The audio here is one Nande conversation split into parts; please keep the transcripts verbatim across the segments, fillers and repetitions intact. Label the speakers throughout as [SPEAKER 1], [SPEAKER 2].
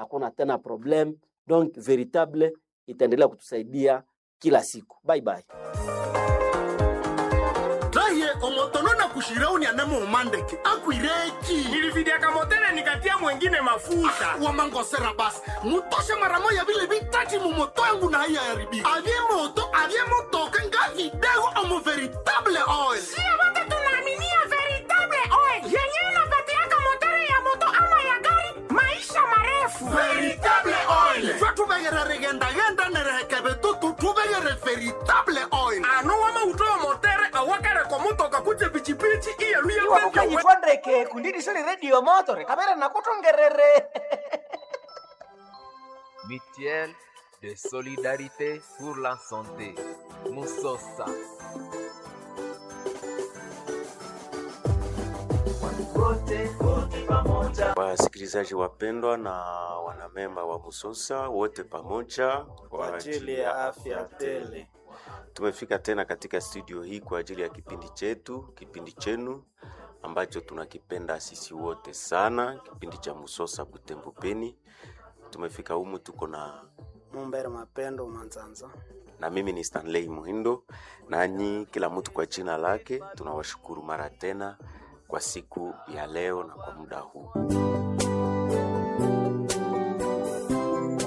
[SPEAKER 1] hakuna tena problème. Donc véritable itaendelea kutusaidia kila siku. Bye bye.
[SPEAKER 2] Raye omotono na kushirauni anemo umandeke akwireki
[SPEAKER 3] Nilividiaka motele nikatia mwengine mafuta.
[SPEAKER 2] Wamangosera basi mutoshe mara moya vile vitati mumoto yangu na haiya yaribika avye moto avye motoka nga vidego omo veritable oil.
[SPEAKER 4] Sio wote tunaaminia veritable oil yenye inapatiaka motori ya moto ama ya gari maisha marefu.
[SPEAKER 2] Veritable oil twa tuvegere rigendagenda nerehekeve tutu tuvegere veritable oil.
[SPEAKER 3] Ano wamautowa motere awakareko motoka kutse pichipichi iyeluye
[SPEAKER 5] Iwe mukanyitwandeke kundidisoni radio motore kamera nakutongerere.
[SPEAKER 6] Mutuelle de solidarité pour la santé. Moussosa.
[SPEAKER 7] Wasikilizaji wapendwa na wanamemba wa Musosa wote pamoja
[SPEAKER 8] kwa ajili ya afya tele.
[SPEAKER 7] Tumefika tena katika studio hii kwa ajili ya kipindi chetu, kipindi chenu ambacho tunakipenda sisi wote sana, kipindi cha Musosa Butembo Beni. Tumefika humu tuko na
[SPEAKER 8] Mumbere Mapendo Manzanza.
[SPEAKER 7] Na mimi ni Stanley Muhindo, nanyi kila mtu kwa jina lake. Tunawashukuru mara tena kwa siku ya leo na kwa muda huu.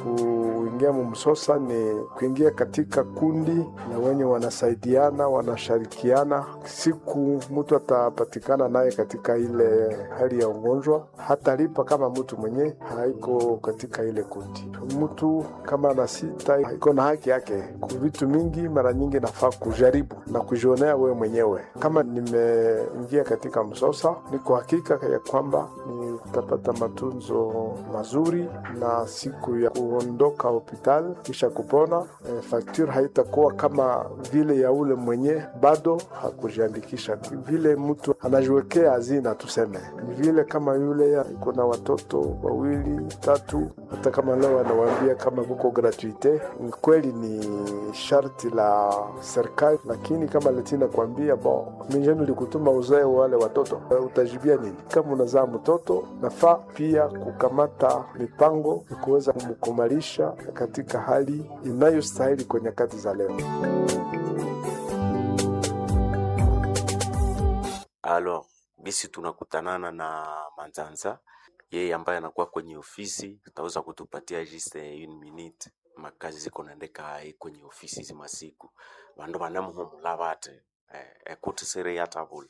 [SPEAKER 9] Kuingia mumsosa ni kuingia katika kundi na wenye wanasaidiana, wanashirikiana. Siku mtu atapatikana naye katika ile hali ya ugonjwa, hatalipa kama mtu mwenye haiko katika ile kundi. Mtu kama ana sita iko na haki yake ku vitu mingi, mara nyingi nafaa kujaribu na kujionea wewe mwenyewe. Kama nimeingia katika msosa, niko hakika ya kwamba nitapata matunzo mazuri na siku ya kuondoka hospitali kisha kupona e, facture haitakuwa kama vile ya ule mwenye bado hakujiandikisha. Vile mtu anajiwekea hazina, tuseme ni vile kama yule iko na watoto wawili tatu, hata kama leo anawaambia kama kuko gratuite, ni kweli ni sharti la serikali, lakini kama letina kuambia bon, mimi likutuma uzae wale watoto, utajibia nini? Kama unazaa mtoto, nafaa pia kukamata mipango ya kuweza kumkumalisha katika hali inayostahili kwa nyakati za leo.
[SPEAKER 7] Alors, bisi tunakutanana na Manzanza, yeye ambaye anakuwa kwenye ofisi, utaweza kutupatia juste une minute makazi ziko naendeka ayi kwenye ofisi zimasiku vandu vanamuhumula vate eh, ekuti siri yatavula.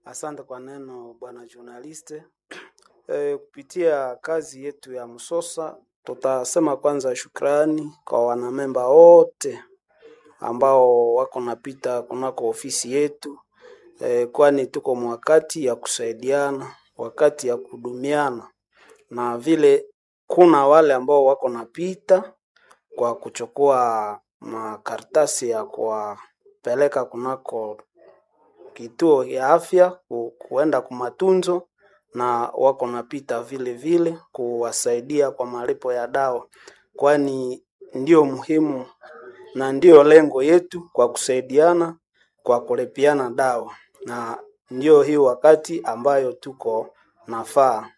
[SPEAKER 8] Asante kwa neno bwana journaliste. E, kupitia kazi yetu ya Msosa tutasema kwanza shukrani kwa wanamemba wote ambao wako napita kunako ofisi yetu e, kwani tuko mwakati ya kusaidiana, wakati ya kudumiana, na vile kuna wale ambao wako napita kwa kuchukua makaratasi ya kuwapeleka kunako kituo ya afya ku, kuenda kumatunzo na wako napita vile vile kuwasaidia kwa malipo ya dawa, kwani ndio muhimu na ndiyo lengo yetu kwa kusaidiana kwa kulipiana dawa, na ndiyo hii wakati ambayo tuko nafaa,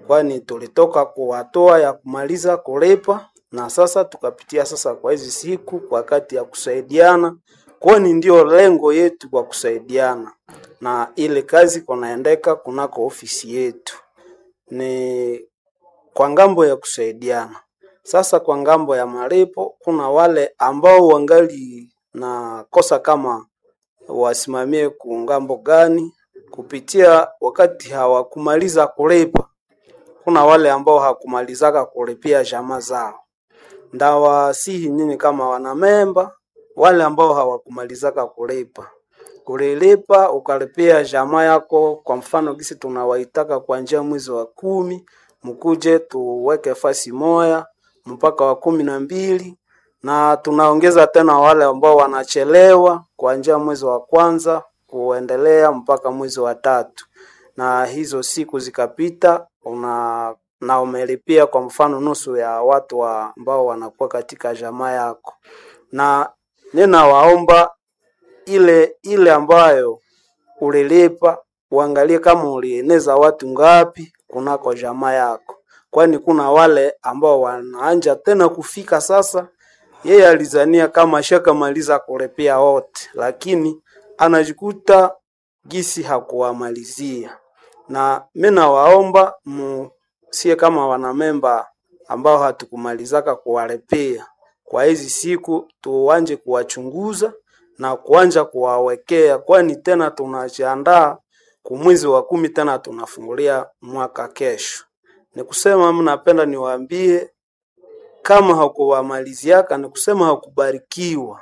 [SPEAKER 8] kwani tulitoka kuwatoa ya kumaliza kulipa na sasa tukapitia sasa kwa hizi siku kwa wakati ya kusaidiana, kwani ndio lengo yetu kwa kusaidiana, na ile kazi kunaendeka kunako ofisi yetu ni kwa ngambo ya kusaidiana. Sasa kwa ngambo ya malipo, kuna wale ambao wangali na kosa kama wasimamie ku ngambo gani kupitia wakati hawakumaliza kulipa. Kuna wale ambao hakumalizaka kulipia jamaa zao. Ndawasihi nyinyi kama wanamemba, wale ambao hawakumalizaka kulipa, kulilipa ukalipia jamaa yako. Kwa mfano gisi tunawaitaka kuanzia mwezi wa kumi, mkuje tuweke fasi moya mpaka wa kumi na mbili na tunaongeza tena wale ambao wanachelewa kuanzia mwezi wa kwanza kuendelea mpaka mwezi wa tatu, na hizo siku zikapita una na umelipia kwa mfano nusu ya watu wa ambao wanakuwa katika jamaa yako, na ninawaomba ile ile ambayo ulilipa uangalie kama ulieneza watu ngapi kunako jamaa yako, kwani kuna wale ambao wanaanja tena kufika sasa. Yeye alizania kama ashakamaliza kulipia wote, lakini anajikuta gisi hakuwamalizia. Na mi nawaomba musie kama wanamemba ambao hatukumalizaka kuwalipia kwa hizi siku, tuanje kuwachunguza na kuanja kuwawekea, kwani tena tunajiandaa kumwezi wa kumi, tena tunafungulia mwaka kesho. Ni kusema mnapenda niwaambie kama hakuwamaliziaka ni kusema hakubarikiwa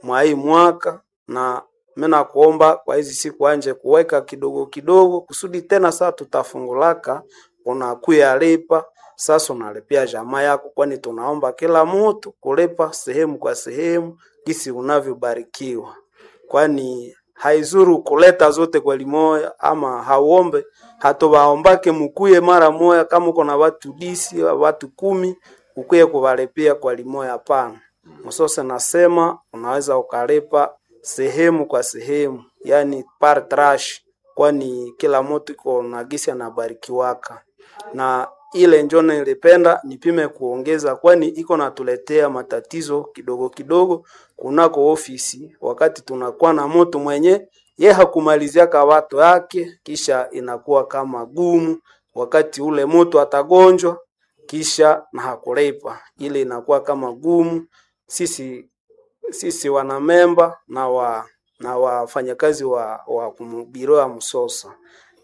[SPEAKER 8] mwa hii mwaka, na mimi nakuomba kwa hizi siku anje kuweka kidogo kidogo, kusudi tena saa tutafungulaka unakuya lipa sasa, unalipia jamaa yako, kwani tunaomba kila mtu kulipa sehemu kwa sehemu gisi unavyobarikiwa, kwani haizuru kuleta zote kwa limoya, ama hauombe hatobaombake mukuye mara moya. Kama uko na watu disi watu kumi ukuye kuvalipia kwa limoya, hapana. Msose nasema unaweza ukalipa sehemu kwa sehemu, yani par trash, kwani kila mtu iko na gisi anabarikiwaka na ile njo nilipenda nipime kuongeza, kwani iko natuletea matatizo kidogo kidogo kunako ofisi, wakati tunakuwa na mtu mwenye ye hakumaliziaka watu yake, kisha inakuwa kama gumu wakati ule mtu atagonjwa kisha na hakulipa, ile inakuwa kama gumu. Sisi sisi wanamemba na wa na wafanyakazi wa, wa biro ya Msosa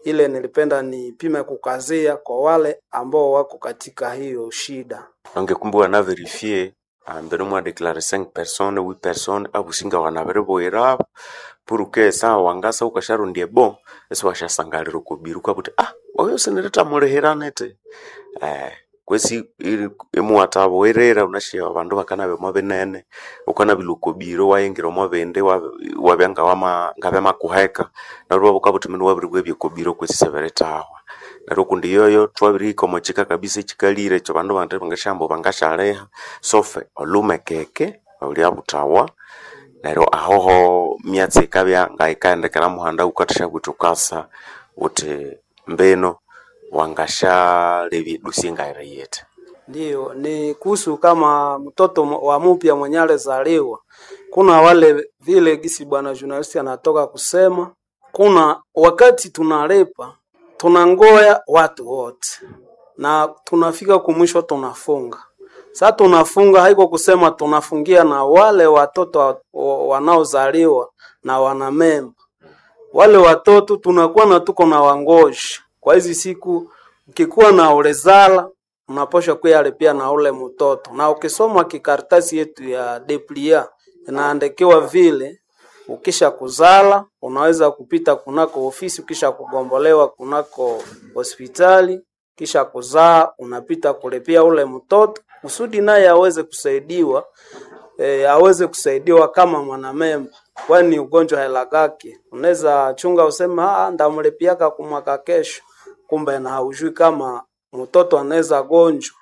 [SPEAKER 8] ile nilipenda nipime kukazia kwa wale ambao wako katika hiyo shida.
[SPEAKER 7] Nange kumbe wana verifie ambere mwa declare cinq personnes huit personnes abusinga wanabere pour que sa wangasa ukasharundie bon esi washasangalira okubiru ukabuti ah oyo sinireta mulihiranete eh kwesi imuwathabowerera unashiya abandu bakanabya omo binene ukanabila okobiro wayingira omo bindi wabya ngawama ngabyamakuheka neryo iwabya minu wabiribwa ebyokobiro kwesi isibiritahwa neryo kundi yoyo thwabirihika omo kika kabisa ekikalire ekyo bandu bandi bangasyahamba bangasyaliha sofe olhumekeke olyabuthawa neryo ahoho myatsi yikabya ngayikaghendekera muhanda wukathasyabugha wuthi wukasa wuthi mbino wangasyalebya edosie ngayiri yithi.
[SPEAKER 8] Ndiyo, ni kuhusu kama mtoto wa mupya mwenye alizaliwa. Kuna wale vile gisi bwana journalist anatoka kusema, kuna wakati tunalipa tunangoya watu wote na tunafika kumwisho tunafunga. Sasa tunafunga haiko kusema tunafungia na wale watoto wa- wa- wanaozaliwa na wanamemba wale watoto tunakuwa na tuko na wangoshi kwa hizi siku. Ukikuwa na ulezala unaposha kuyalipia na ule mtoto, na ukisoma kikaratasi yetu ya deplia inaandikiwa vile, ukisha kuzala unaweza kupita kunako ofisi, ukisha kugombolewa kunako hospitali, kisha kuzaa unapita kulipia ule mtoto kusudi naye aweze kusaidiwa e, aweze kusaidiwa kama mwanamemba, kwani ugonjwa helakake. Unaweza chunga useme ah, ndamlipiaka kumwaka kesho, kumbe na haujui kama mtoto anaweza gonjwa.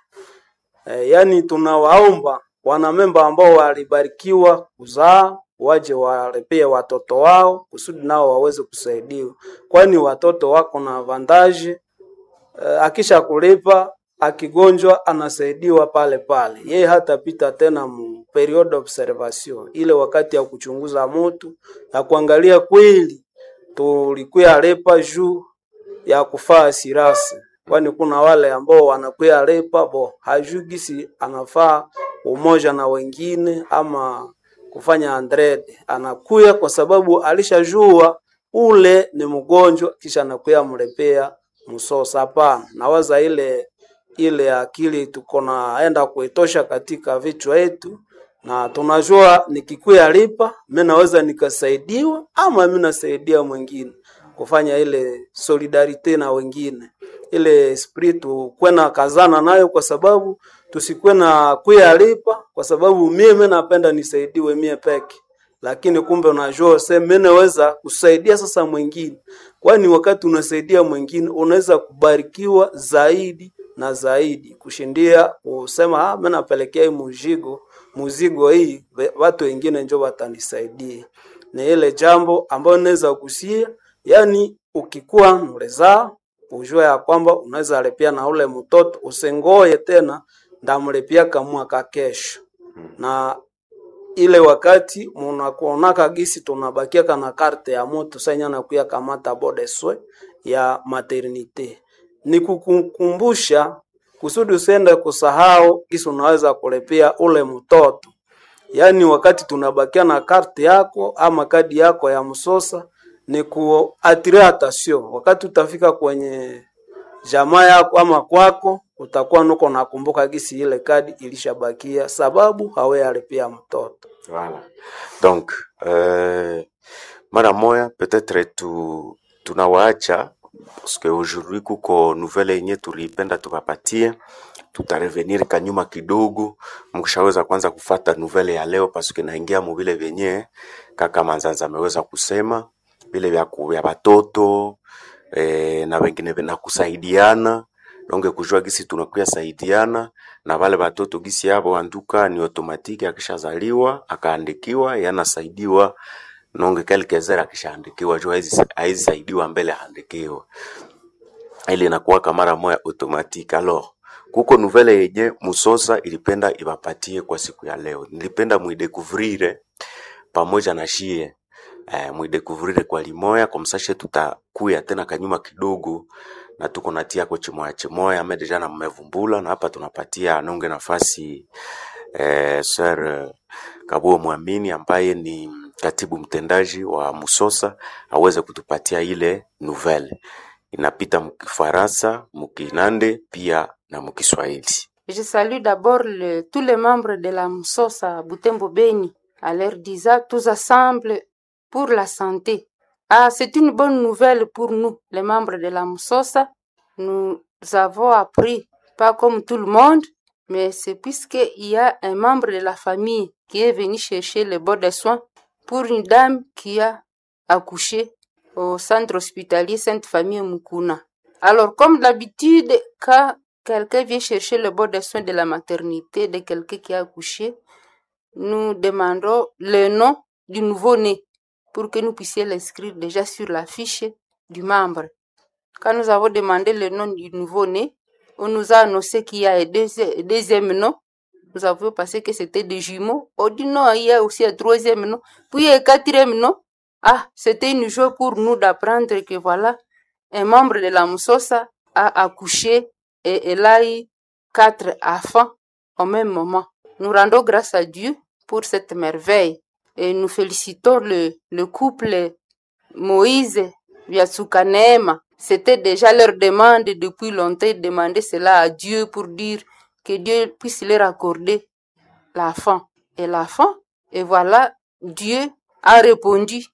[SPEAKER 8] E, yani tunawaomba wanamemba ambao walibarikiwa kuzaa waje walipie watoto wao kusudi nao waweze kusaidiwa, kwani watoto wako na vandaje eh, akisha kulipa akigonjwa anasaidiwa pale pale, yeye hatapita tena mu period observation, ile wakati ya kuchunguza mutu na kuangalia kweli tulikuya lipa juu ya kufaa sirasi, kwani kuna wale ambao wanakuya lipa bo hajui gisi anafaa umoja na wengine ama kufanya andrede, anakuya kwa sababu alishajua ule ni mgonjwa, kisha anakuya mlipea msosa. Hapana, nawaza ile ile akili tuko naenda kuitosha katika vichwa yetu, na tunajua nikikuya lipa mi naweza nikasaidiwa ama mi nasaidia mwingine kufanya ile solidarite na wengine, ile esprit tukwe na kazana nayo, kwa sababu tusikuwe na kuya lipa kwa sababu mimi napenda nisaidiwe mie peke lakini kumbe unajua se mimi naweza kusaidia sasa mwingine, kwani wakati unasaidia mwingine unaweza kubarikiwa zaidi na zaidi kushindia kusema ah, mimi napelekea hii muzigo muzigo hii ve- watu wengine njo watanisaidia. Ni ile jambo ambayo naweza kusia, yani ukikuwa mlezaa ujue ya kwamba unaweza lipia na ule mtoto, usingoye tena ndamlipia mwaka kesho. Na ile wakati munakuonaka gisi tunabakiaka na carte ya moto sanya nakuya kamata bodeswe ya maternite, ni kukukumbusha kusudi usiende kusahau gisi unaweza kulipia ule mtoto. Yaani wakati tunabakia na karte yako ama kadi yako ya msosa ni kuatire attention. Wakati utafika kwenye jamaa yako ama kwako, utakuwa nuko nakumbuka gisi ile kadi ilishabakia, sababu haweyalipia mtoto.
[SPEAKER 7] Voilà. Donc, euh, mara moya peut-être tu tunawaacha parce que aujourd'hui kuko nouvelle yenye tuliipenda tukapatie, tutarevenir kanyuma kidogo, mkishaweza kwanza kufata nouvelle ya leo parce que naingia mubile vyenye kaka Manzanza ameweza kusema vile vya ku- vya batoto eh, na wengine na kusaidiana donge kujua gisi tunakuya saidiana na wale batoto gisi yabo anduka ni automatique, akishazaliwa akaandikiwa yanasaidiwa nonge quelques heures akishaandikiwa juu haizi haizi saidiwa mbele aandikiwe, ile inakuwaka mara moya automatique. Alors kuko nouvelle yenye Musosa ilipenda ibapatie kwa siku ya leo, nilipenda muidécouvrir pamoja na shie eh, muidécouvrir kwa limoya kwa msashe, tutakuya tena kanyuma kidogo na tuko natia ko chimoya chimoya ame deja na mmevumbula na hapa tunapatia nonge nafasi eh, Sir eh, Kabuo Mwamini ambaye ni katibu mtendaji wa Musosa aweze kutupatia ile nouvelle inapita mkifaransa, mkinande pia na mkiswahili.
[SPEAKER 10] Je salue d'abord le- tous les membres de la Msosa Butembo Beni, à leur disant tous ensemble pour la santé. Ah, c'est une bonne nouvelle pour nous, les membres de la Msosa. Nous avons appris, pas comme tout le monde, mais c'est puisqu'il y a un membre de la famille qui est venu chercher le bon des soins pour une dame qui a accouché au centre hospitalier Sainte-Famille Mukuna. Alors, comme d'habitude, quand quelqu'un vient chercher le bon des soins de la maternité de quelqu'un qui a accouché, nous demandons le nom du nouveau-né pour que nous puissions l'inscrire déjà sur la fiche du membre. Quand nous avons demandé le nom du nouveau-né, on nous a annoncé qu'il y a un deuxi- deuxième nom. Nous avons pensé que c'était des jumeaux. On dit non, il y a aussi un troisième nom. Puis un quatrième nom. Ah, c'était une joie pour nous d'apprendre que voilà, un membre de la Moussosa a accouché et elle a eu quatre enfants au même moment. Nous rendons grâce à Dieu pour cette merveille et nous félicitons le, le couple Moïse Vyatsuka. C'était déjà leur demande depuis longtemps, ils demandaient cela à Dieu pour dire que Dieu puisse leur accorder l'enfant. Et l'enfant, et voilà, Dieu a répondu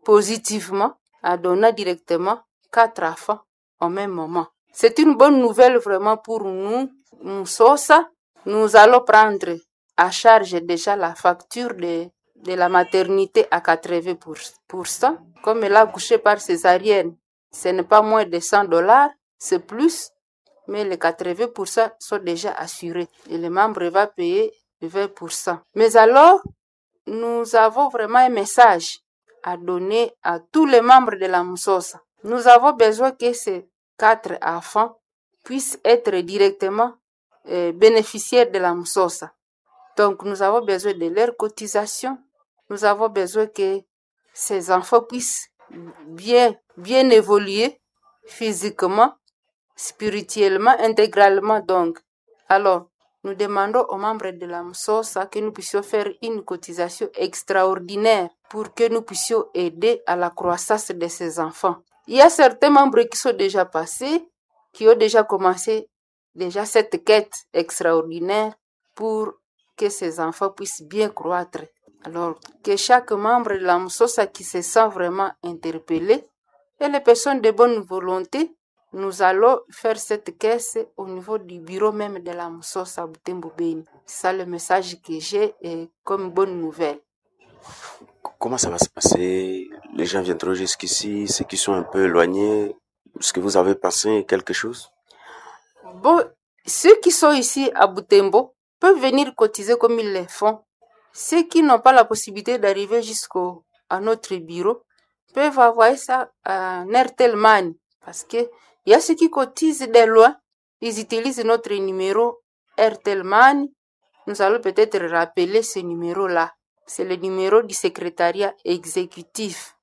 [SPEAKER 10] positivement, a donné directement quatre enfants au même moment. C'est une bonne nouvelle vraiment pour nous, Moussosa. Nous allons prendre à charge déjà la facture de, de la maternité à quatre-vingts pour cent. Comme elle a accouché par césarienne, ce n'est pas moins de cent dollars, c'est plus, mais les quatre-vingts pour cent sont déjà assurés et le membre va payer vingt pour cent. Mais alors, nous avons vraiment un message à donner à tous les membres de la Moussosa. Nous avons besoin que ces quatre enfants puissent être directement euh, bénéficiaires de la Moussosa. Donc, nous avons besoin de leur cotisation. Nous avons besoin que ces enfants puissent bien, bien évoluer physiquement, spirituellement, intégralement. Donc, alors, nous demandons aux membres de la Moussosa que nous puissions faire une cotisation extraordinaire pour que nous puissions aider à la croissance de ces enfants. Il y a certains membres qui sont déjà passés, qui ont déjà commencé déjà cette quête extraordinaire pour que ces enfants puissent bien croître. Alors, que chaque membre de la Moussosa qui se sent vraiment interpellé et les personnes de bonne volonté, nous allons faire cette caisse au niveau du bureau même de la Moussosa à Butembo Beni. C'est ça le message que j'ai et comme bonne nouvelle.
[SPEAKER 7] Comment ça va se passer? Les gens viendront jusqu'ici, ceux qui sont un peu éloignés, est-ce que vous avez pensé quelque chose?
[SPEAKER 10] Bon, ceux qui sont ici à Butembo peuvent venir cotiser comme ils le font. Ceux qui n'ont pas la possibilité d'arriver jusqu'au à notre bureau peuvent envoyer ça à Airtel Money parce que Il y a ceux qui cotisent de loin, ils utilisent notre numéro Airtel Money. Nous allons peut-être rappeler ce numéro-là. C'est le numéro du secrétariat exécutif.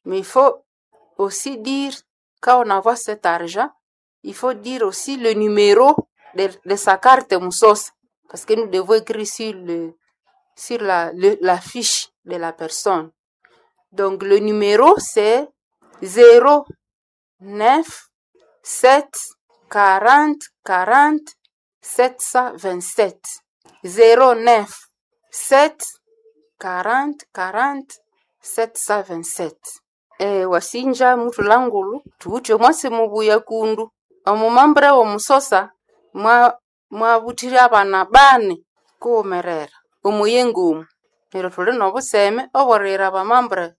[SPEAKER 10] Mais il faut aussi dire, quand on envoie cet argent, il faut dire aussi le numéro de, de sa carte Moussos. Parce que nous devons écrire sur, le, sur la, le- la fiche de la personne. Donc le numéro, c'est zéro neuf sept quarante quarante sept cent vingt-sept. zéro neuf sept quarante quarante sept cent vingt-sept. Eh, wasinja mutulangulu tuwuthe omwasi mubuya kundu omumambre womusosa mwa mwabuthire abana bane kuwumerera omuyengomu neryo thuli nobuseme oboriyira abamambre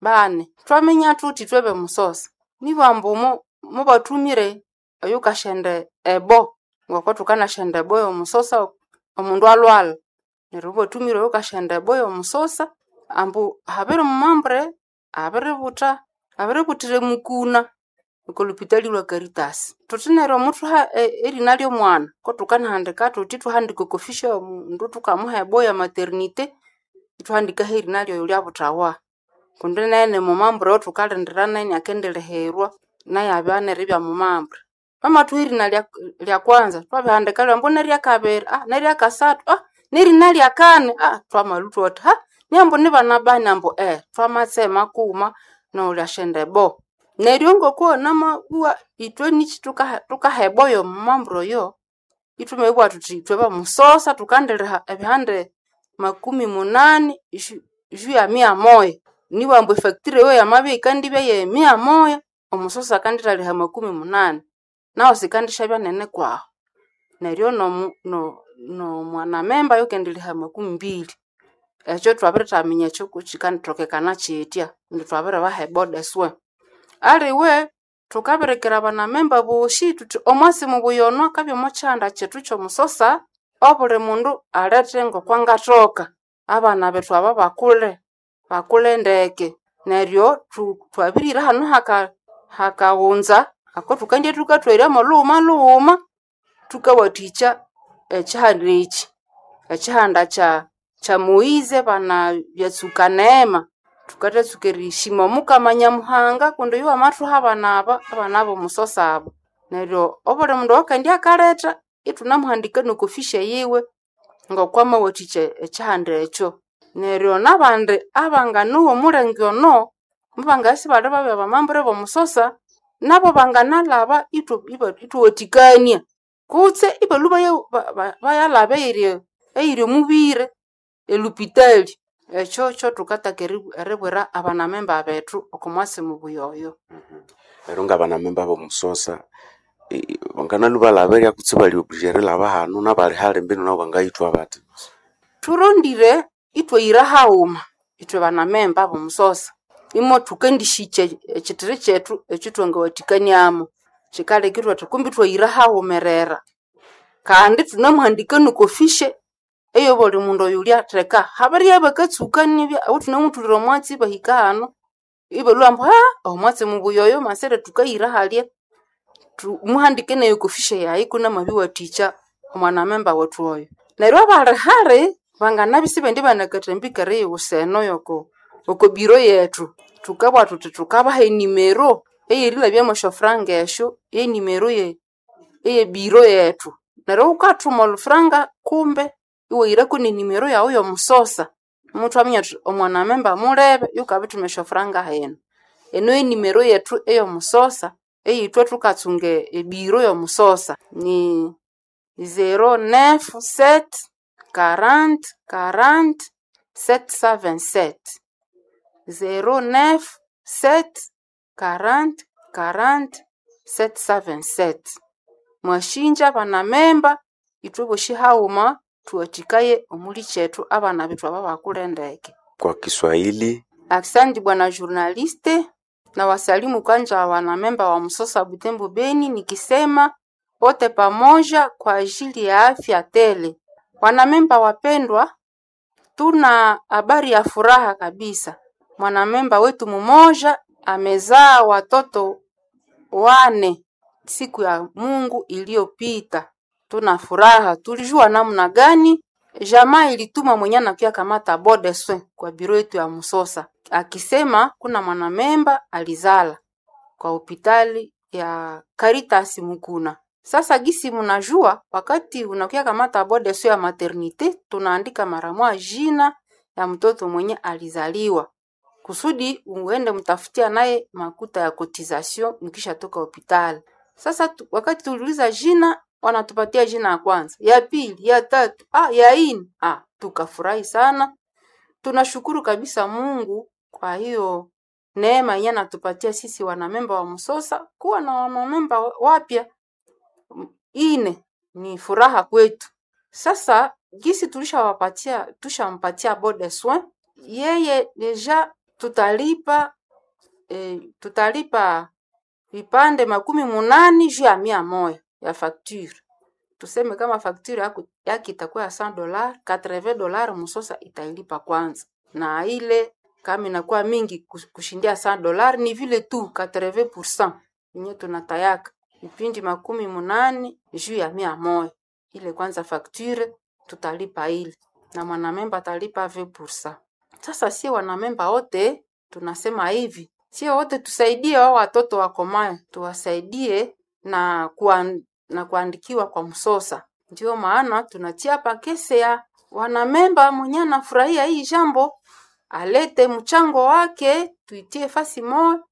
[SPEAKER 10] bane twaminya thuthi twebe musosa nibambu mu- mubathumire oyukashenda ebo ngoko thukanashenda ebo yomusosa omundu alwala neryo mubathumire oyukashenda ebo yomusosa ambu habiri mumambre abiributha abiributhira mukuna okolupitali lwa Caritas. Thuthi neryo muthuha e- erina ly'omwana ko thukanahandika thuthi thuhandika oko fisha yomundu thukamuha ebo ya maternité ithuhandikaho erina lyoyo lyabuthawa kundi nene mumambre oyo thukalindira nayo inakendilihirwa nayo abya neribya mumambre. Bamathuha erina lya lya kwanza thwabihandika ambu neryakabiri ah neryakasathu ah nerina lyakani ah twamalhwa thuthi ha niambu nibana bani ambu eh twamatsema kughuma nowulyashenda ebo. Neryo ngoko namabugha ithwe niki thukaha thukaha ebo y'omumambre oyo ithwamabugha thuthi ithwe bamusosa thukandiliha ebihande makumi munani ju ju ya mia moya nibugha ambu efactory eyo yamabya yikandibya ye mia moya omusosa akandithaliha makumi munani nahu sikandishabya nene kwahu neryo nomu no nomwanamemba ayukendiliha makumi mbili ekyo thwabirithaminya ekyo kukyikanithokekana kyitya kundi twabiribaha eboda eswe aliwe thukabirikira abanamemba bosi thuthi omwasi mubuya ono akabya omo kyihanda kyethu kyomusosa obuli mundu alethe ngokwangathoka abana bethu aba bakule bakule ndeke neryo thu- thwabirira hanu haka hakaghunza ako thukandya thukathweryamu lhughuma lhughuma thukawathikya ekyihanda ekyi ekyihanda kya kya Moise bana byatsuka neema thukathatsuka erishima omukama Nyamuhanga kundi oyo wamathuha abana aba abana b'omusosa aba neryo obuli mundu oyukendya akaletha ithunamuhandika n'okofisha yiwe ng'okwamawathikya ekyihanda ekyo neryo n'abandi abanganowa omulenge ono mubangabya isibali babya bamambre b'omusosa nabo banganalhaba ithu- iba- ithuwathikania kutse ibalhwa baya- ba- ba- bayalhaba eyiri eyiri omubiri elupitali ekyo kyothukataka eri- eribwira abanamemba bethu oko mwasi mubuya oyo.
[SPEAKER 7] Neryo ngabanamemba b'omusosa eh, banganalwa balhaberya kutse bali obligé erilhaba hanu nabali hali mbinu nabo bangayithwa bathi
[SPEAKER 10] Thurondire ithwayira haghuma ithwe banamemba b'omusosa imo thukandishikya ekithiri kyethu ekyithwangawathikaniamu kyikaleka ithwathi kumbi ithwayira haghumerera kandi thunamuhandika n'okofishe eyobuli mundu oyulyatheka habiribya bakatsuka nibya ahu thunamuthulira omwatsi ibahika hanu ibalhwa ambu ha omwatsi mubuya oyo masire thukayira halya thu- muhandike nayo okofishe yayi kunamabiwathikya omwanamemba wethu oyo neryo abali hali banganabya isibendi banakathambika eriyiwusa eno yoko oko biro yethu thukabugha thuthi thukabaha enimero eyerilhabyamu esyofuranga esyo yenimero ye eyebiro yethu neryo wukathuma olhufuranga kumbe iwahirako nenimero yawu y'omusosa muthwaminya thuthi omwanamemba mulebe yukabithuma esyofuranga hino eno yenimero yethu ey'omusosa eyithwe thukatsunga ebiro y'omusosa ni zero neuf sept quarante quarante sept cent vingt-sept zero neuf sept quarante quarante sept cent vingt-sept mwashinja abanamemba ithwe bosi haghuma thuwathikaye omuli kyethu abana bethu aba bakule ndeke.
[SPEAKER 7] kwa Kiswahili
[SPEAKER 10] Aksanti bwana journaliste, na wasalimu kwanza wanamemba wa Msosa Butembo Beni, nikisema wote pamoja kwa ajili ya afya tele. Wanamemba wapendwa, tuna habari ya furaha kabisa. Mwanamemba wetu mmoja amezaa watoto wane siku ya Mungu iliyopita. Tuna furaha, tulijua namna gani jamaa ilituma mwenye anakuya kamata bon de soins kwa biro yetu ya Musosa, akisema kuna mwanamemba alizala kwa hopitali ya Caritas Mukuna. Sasa gisi mnajua, wakati unakuya kamata bon de soins ya maternite, tunaandika mara moja jina ya mtoto mwenye alizaliwa kusudi uende mtafutia naye makuta ya cotisation mkishatoka hopitali. Sasa tu, wakati tuliuliza jina wanatupatia jina ya kwanza, ya pili, ya tatu, ah, ya ine. Ah, tukafurahi sana. Tunashukuru kabisa Mungu kwa hiyo neema yenye anatupatia sisi wanamemba wa Msosa kuwa na wanamemba wapya ine ni furaha kwetu. Sasa gisi tulishawapatia tushampatia bon de soins, yeye deja tutalipa e, tutalipa vipande makumi munani juu ya mia moya ya facture. Tuseme kama facture yako yake itakuwa ya cent dollars, quatre-vingts dollars Msosa itailipa kwanza, na ile kama inakuwa mingi kus- kushindia cent dollars ni vile tu quatre-vingts pour cent yenye tunatayaka vipindi makumi munani juu ya mia moya ile kwanza facture tutalipa ile na mwanamemba atalipa vingt pour cent. Sasa sie wanamemba wote tunasema hivi, sie wote tusaidie wao watoto wakomayo, tuwasaidie na kuan, na kuandikiwa kwa Msosa. Ndio maana tunatia hapa kese ya wanamemba mwenye anafurahia hii jambo alete mchango wake, tuitie fasi moja,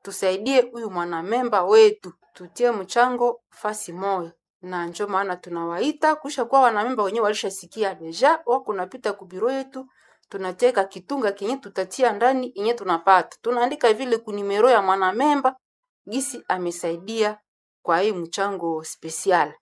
[SPEAKER 10] tusaidie huyu mwanamemba wetu, tutie mchango fasi moja na njo maana tunawaita kusha kuwa wanamemba wenyewe walishasikia deja, wako napita kubiro yetu, tunateka kitunga kenye tutatia ndani yenye tunapata, tunaandika vile kunimero ya mwanamemba gisi amesaidia kwa hii mchango special.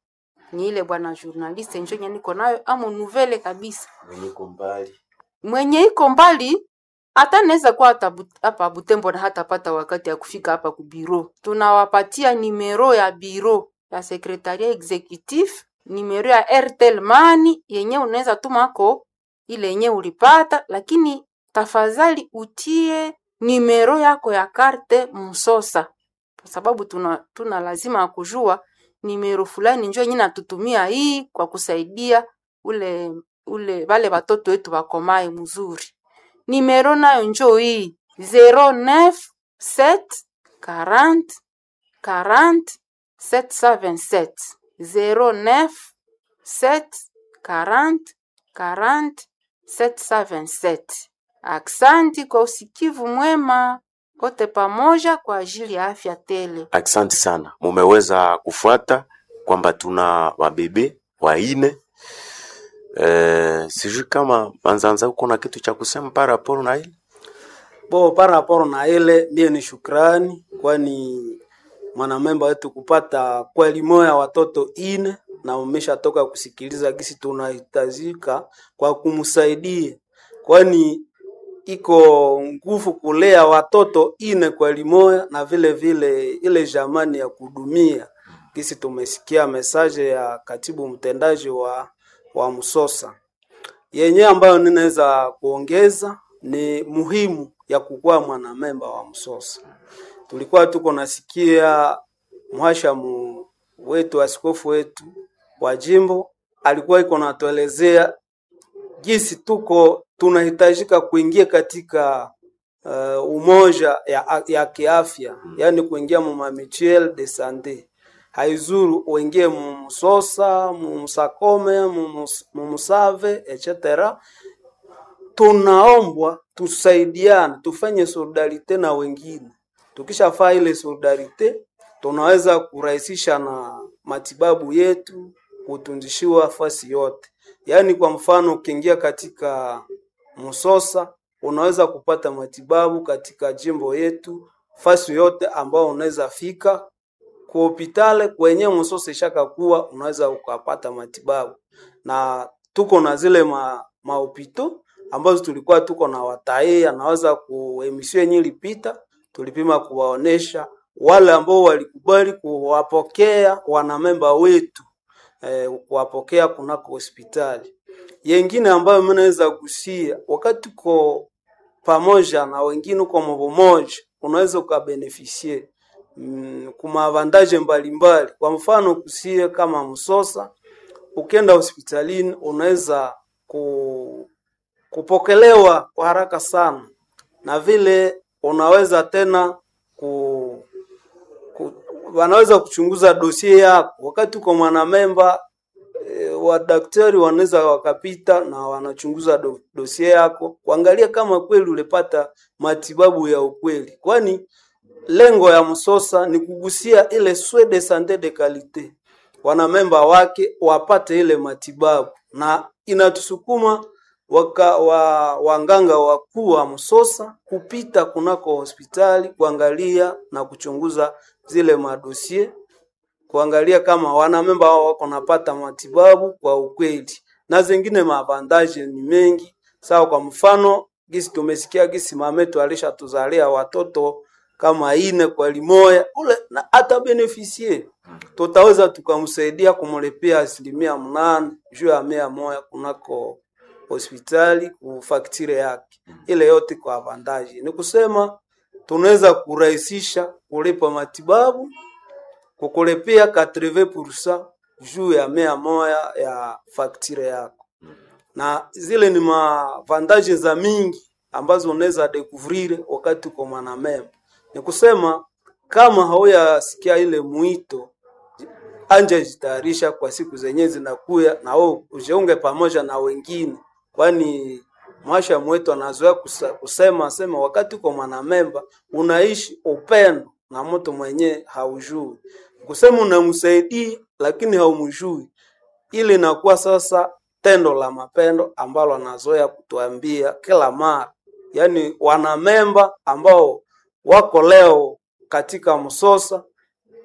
[SPEAKER 10] Ni ile bwana journaliste njo yenye niko nayo amo nouvelle kabisa
[SPEAKER 7] Mwenye iko mbali
[SPEAKER 10] mwenye iko mbali hata naweza kuwa hata Bu- hapa Butembo na hatapata wakati ya kufika hapa ku biro. Tunawapatia nimero ya biro ya sekretaria executif, nimero ya Airtel Money yenye unaweza tumako ile yenye ulipata, lakini tafadhali utie nimero yako ya karte Msosa, kwa sababu tuna, tuna lazima ya kujua nimero fulani njo yenye natutumia hii kwa kusaidia ule ule wale watoto wetu wakomae mzuri. Nimero nayo njo hii zero neuf sept quarante quarante sept cent vingt-sept zero neuf sept quarante quarante sept cent vingt-sept. Aksanti kwa usikivu mwema, wote pamoja kwa ajili ya afya tele.
[SPEAKER 7] Asante sana, mumeweza kufuata kwamba tuna wabebe waine. Eh, sijui kama Manzanza uko na kitu cha kusema par rapport na ile
[SPEAKER 8] Bo, par rapport na ile mie ni shukrani, kwani mwanamemba wetu kupata kweli moya watoto ine na umeshatoka kusikiliza gisi tunahitajika kwa kumsaidia, kwani iko nguvu kulea watoto ine kwa limoya na vile vile ile jamani ya kudumia gisi tumesikia mesaje ya katibu mtendaji wa, wa Msosa yenye ambayo ninaweza kuongeza ni muhimu ya kukuwa mwanamemba wa Msosa. Tulikuwa tuko nasikia mhashamu wetu askofu wetu wa jimbo alikuwa iko natuelezea jinsi tuko tunahitajika kuingia katika uh, umoja ya, ya kiafya yaani kuingia mu ma mutuelle de sante haizuru uingie mu Msosa mu Msakome mu Musave et cetera. Tunaombwa tusaidiane, tufanye solidarite na wengine. Tukishafaa ile solidarite, tunaweza kurahisisha na matibabu yetu, kutunzishiwa fasi yote. Yaani kwa mfano ukiingia katika Msosa unaweza kupata matibabu katika jimbo yetu fasi yote ambao unaweza fika ku hopitale kwenye Msosa ishakakuwa unaweza ukapata matibabu, na tuko na zile ma, mahopito ambazo tulikuwa tuko na watae anaweza ku emission yenye ilipita tulipima kuwaonesha wale ambao walikubali kuwapokea wanamemba wetu eh, kuwapokea kunako hospitali. Yengine ambayo mimi naweza kusia wakati tuko pamoja na wengine uko mmoja, unaweza ukabenefisie mm, kumavantaje mbalimbali. Kwa mfano kusie kama Msosa, ukienda hospitalini unaweza ku, kupokelewa kwa haraka sana, na vile unaweza tena ku, ku, wanaweza kuchunguza dosie yako wakati uko mwanamemba. E, wadaktari wanaweza wakapita na wanachunguza do, dosie yako kuangalia kama kweli ulipata matibabu ya ukweli, kwani lengo ya Msosa ni kugusia ile soins de sante de qualite, wanamemba wake wapate ile matibabu, na inatusukuma waka, wa, wanganga wakuu wa Msosa kupita kunako hospitali kuangalia na kuchunguza zile madosie kuangalia kama wanamemba wao wako napata matibabu kwa ukweli, na zingine maavantaje ni mengi. Sawa, kwa mfano gisi tumesikia gisi mametu alishatuzalia watoto kama ine kwa limoya ule na ata benefisie tutaweza tukamsaidia kumlipia asilimia mnane juu ya mia moya kunako hospitali kufaktire yake ile yote kwa avantaji. Ni kusema tunaweza kurahisisha kulipa matibabu kukulipia quatre-vingts pour cent juu ya mia moya ya faktire yako, na zile ni mavantaje za mingi ambazo unaweza découvrir wakati uko mwanamemba. Ni kusema kama hauyasikia ile mwito, anja jitayarisha kwa siku zenye zinakuya, na wewe ujiunge pamoja na wengine, kwani mwasha mwetu anazoea kusema sema, wakati uko mwanamemba unaishi upendo na mtu mwenye haujui, kusema unamsaidia lakini haumjui, ili inakuwa sasa tendo la mapendo ambalo anazoea kutuambia kila mara, yaani wanamemba ambao wako leo katika Msosa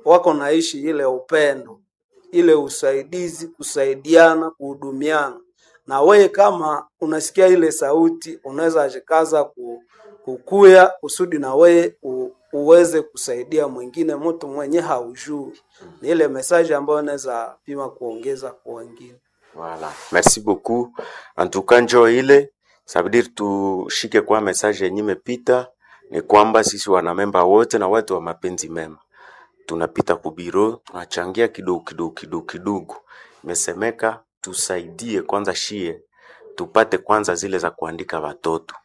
[SPEAKER 8] wako naishi ile upendo, ile usaidizi, kusaidiana, kuhudumiana. Na wewe kama unasikia ile sauti, unaweza jikaza ku, kukuya kusudi na wewe u, uweze kusaidia mwingine mtu mwenye haujui. Ni ile message ambayo unaweza pima kuongeza kwa wengine.
[SPEAKER 7] Voilà. Merci beaucoup. En tout cas, njoo ile ça veut dire tushike kwa message yenye imepita ni kwamba sisi wanamemba wote na watu wa mapenzi mema tunapita kubiro tunachangia kidogo kidogo kidogo kidogo. Imesemeka tusaidie kwanza shie tupate kwanza zile za kuandika watoto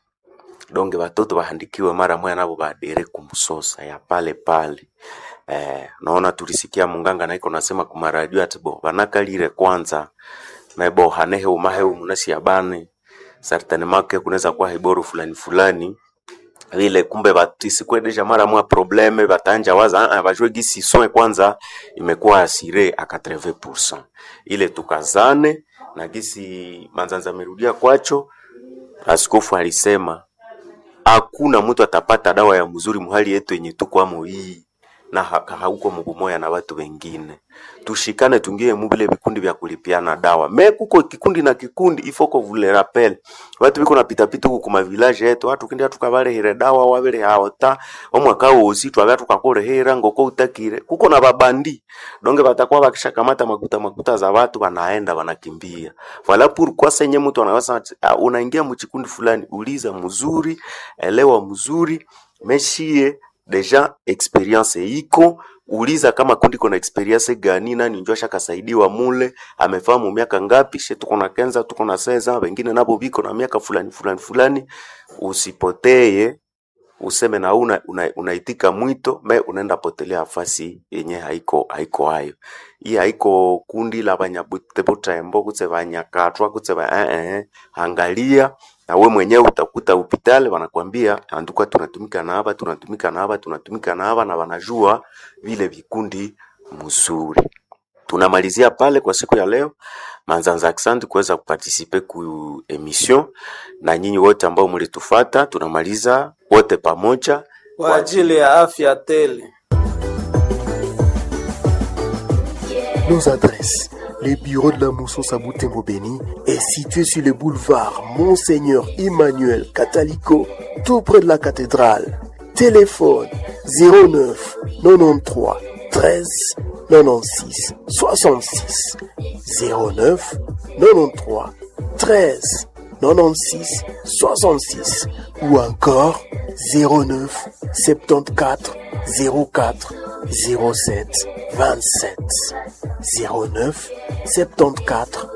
[SPEAKER 7] donge watoto waandikiwe mara moya nabo baadere kumsosa ya pale pale. Eh, naona tulisikia munganga naiko nasema kumaradio ati bo banakalire kwanza mebo hanehe umahe munasi yabane certainement ke kunaweza kuwa hiboru fulani fulani vile kumbe batisikuwe deja mara mwa probleme batanja waza ah, bajue gisi soin kwanza imekuwa asire a quatre-vingts pour cent ile tukazane na gisi Manzanza amerudia kwacho. Askofu alisema hakuna mtu atapata dawa ya mzuri muhali yetu yenye tukwamo hii na ha- hauko mubumoya na watu wengine. Tushikane, tungie mubile vikundi vya kulipiana dawa. Me kuko kikundi na kikundi ifoko vule rappel. Watu biko na pita pita huku kuma village yetu, watu kindi tukabalehera dawa wabele haota omwaka wosi twabya tukakolehera ngoko utakire. Kuko na babandi donge batakuwa bakishakamata makuta makuta za watu wanaenda wanakimbia. Voilà pourquoi senye mtu anaweza ah, unaingia mchikundi fulani, uliza mzuri, elewa mzuri, meshie deja experience iko uliza kama kundi kona experience gani, nani njo ashakasaidiwa mule, amefahamu miaka ngapi, she tuko na kenza tuko na seza, wengine nabo biko na miaka fulani fulani fulani. Usipoteye useme na una, una, unaitika mwito me unaenda potelea afasi yenye haiko haiko hayo. Hii haiko kundi la banyabutembo kutse banyakatwa kutse ba eh, eh. Angalia na we mwenyewe utakuta hospitali wanakwambia anduka, tunatumika na hapa tunatumika na hapa tunatumika na hapa na wanajua vile vikundi mzuri. Tunamalizia pale kwa siku ya leo. Manzanza, asante kuweza kuparticiper ku emission na nyinyi wote ambao mlitufata, tunamaliza wote pamoja
[SPEAKER 8] kwa ajili ya afya tele.
[SPEAKER 11] Nos adresses. Le bureau de la Moussos à Butembo-Beni est situé sur le boulevard Monseigneur Emmanuel Catalico, tout près de la cathédrale. Téléphone zéro neuf quatre-vingt-treize treize quatre-vingt-seize soixante-six zéro neuf quatre-vingt-treize treize quatre-vingt-seize soixante-six ou encore zéro neuf soixante-quatorze zéro quatre zéro sept vingt-sept zéro neuf septante-quatre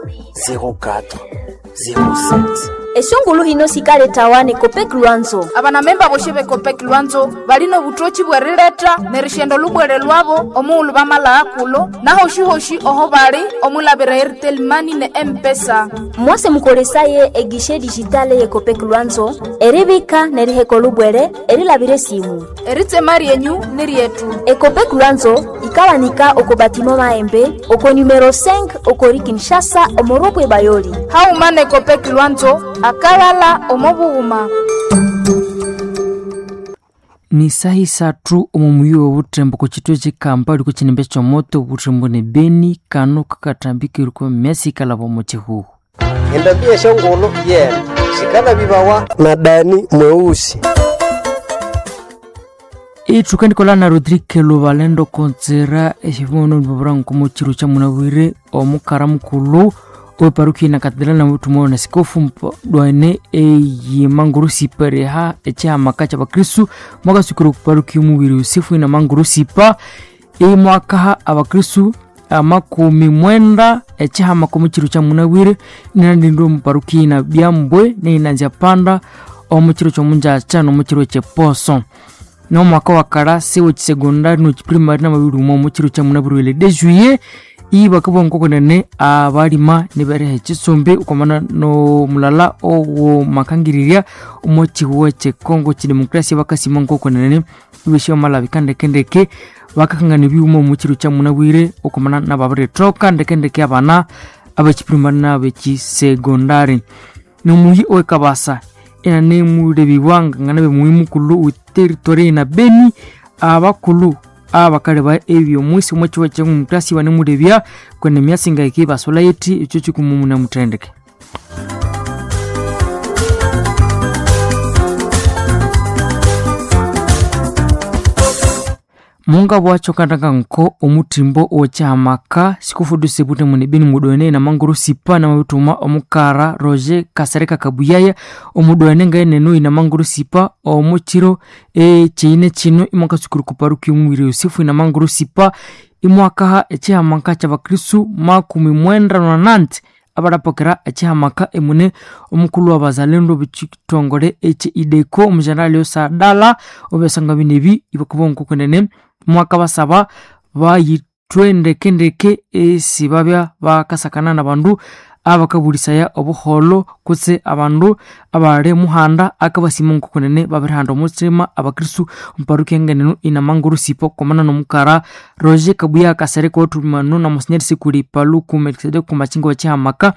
[SPEAKER 11] zéro quatre zéro sept.
[SPEAKER 12] Esungulu hino sikaletawa Copec Lwanzo.
[SPEAKER 13] Abanamemba boshe be Copec Lwanzo balino butochi bwerileta nerishendo lubwere lwabo omuulu bamala akulo nahoshihoshi oho bali omulabira Airtel Money ne M-Pesa.
[SPEAKER 12] Mwase mukolesaye egishe digitale ye Copec Lwanzo eribika neriheko lubwere erilabire simu
[SPEAKER 13] eritsema ryenyu ni ryetu.
[SPEAKER 12] Ecopec Lwanzo ikawanika oko batimo maembe oko numero cinq okori Kinshasa omorobwe bayoli.
[SPEAKER 13] Hauma ne Copec Lwanzo akalala omobughuma.
[SPEAKER 14] Ni sahi sathu omu muyi w'obuthembo ku kitwe ky'ekampala liko kinimbe ky'omoto obuthembo ne Beni kano kakathambikirwe kwa myasi ikalaba omu kihuhu.
[SPEAKER 15] Endambi eshongolo yena sikala bibawa na Dani mweusi.
[SPEAKER 14] Ithuka ndikola na Rodrigue Lubalendo kontsera exivono nibabura nkomo chiro cha munabwire omukara mukulu oweparukia na katedrali na mutumo na sikofu dwane eyimangurusipa reha echihamaka cha bakristu mwakasukira okuparukia omubiri Yusufu ina mangurusipa imwakaha abakristu amakumi mwenda echihamaka omu chiro cha munabwire inandindwe omuparukia ina byambwe neinanzya panda omu chiro kyomunjacha nomu chiro kyeposo nomwaka wa karasi wekisegondari nokiprimari namabiri umwe omu chiro kya munabwire de juillet ibakabwa nkokonene abalima nibereha ekisumbi okwamana nomulala owomakangirirya omu kihuwa kyekongo kidemokrasia bakasima nkokonene ibesya bamalabika ndekendeke bakakangana ebyuma omu kiro kya munabwire okwamana nababirithoka ndekendeke abana abekiprimari nabekisegondari. Nomuyi owekabasa inanemulebibwa nganabe muyi mukulhu weteritori na Beni abakulhu abakaleba ebyomwisi omu kihuwa kyemumutasi banemulebya kwene myasi ngaike basola yethi ekyo kyikumumuna muthendeke. Munga bwacho kandanga nko omutimbo owekihamaka sikufuduse bute mune Beni mudwene na manguru sipa na mabituma omukara Roger Kasereka Kabuyaya omudwene ngaeneno ina manguru sipa omukiro ekiine kino imwakasukuru kuparuki omubiri Yusufu ina manguru sipa imwakaha ekihamaka kyabakristu makumi mwenda nananti abarapokera ekihamaka emune omukulu w'abazalendo b'ekitongole eki ideko omujenerali Osadala obyasanga binebi ibakuba nkokunene mwaka basaba bayithwe ndekendeke esi babya bakasakana nabandu abakabulisaya obuholo kutse abandu abali muhanda akabasima nkokunene babirihanda omutsima abakristu omuparukia ngeneno inamanguru sipo komana nomukara Roger Kabuya Kasereka othumano na Monsignor Sikuli Paluku Melkisedeki kumachinga wechihamaka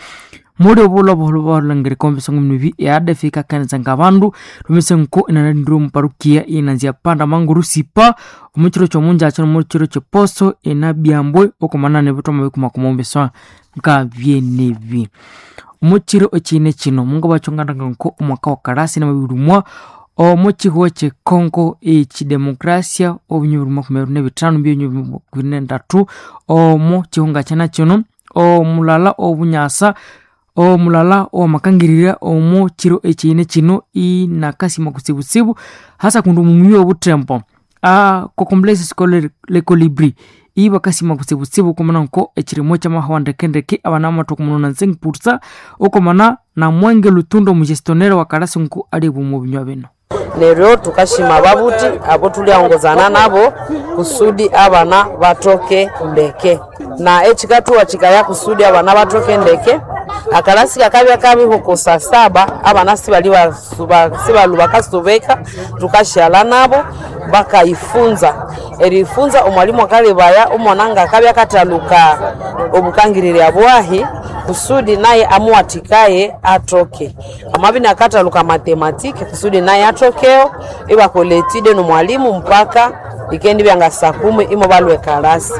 [SPEAKER 14] muli obulwa obuholo bwalangirika omu mibi eadefika kanisa ngabandu lumise nko inanandire omuparukia inanzya panda manguru sipa omukiro kyomunjacha nomukiro kyeposo inabyambwe okumana nebithoma bikumakuma omubisoa nka byenebi. Omukiro ekiine kino mungu bachonganaga nko omwaka wa karasi namabiri mwa omukihuwa kyekongo ekidemokrasia obunywi bibiri makumi abiri nebithano mbyonyi bibiri nendatu omu kihunga kyana kino omulala obunyasa omulala owamakangirira omu kiro ekiine kino inakasima kutsibutsibu hasa kundi omumuyi obutembo kokomplese scolaire le colibri ibakasima kutsibutsibu okomana nko ekirimo kyamahawa ndekendeke abana bamathoka omunona nzengiputsa okomana na mwenge lutundo omugestionnaire wa karasi nko ali omu binywa bino.
[SPEAKER 16] Neryo tukashima ababuti abo tuliongozana nabo kusudi abana batoke ndeke na ekikatuwa kikaya kusudi abana batoke ndeke akalasi kakabya kabihuko saa saba abana sibali sibalu bakasubeka tukashala nabo bakaifunza erifunza omwalimu akalebaya omwana nga akabya kataluka obukangirira bwahi kusudi naye amuwatikaye atoke amabini akataluka matematiki kusudi naye atokeo ibakola etide nomwalimu mpaka ikendi byanga saa kumi imo balwe kalasi.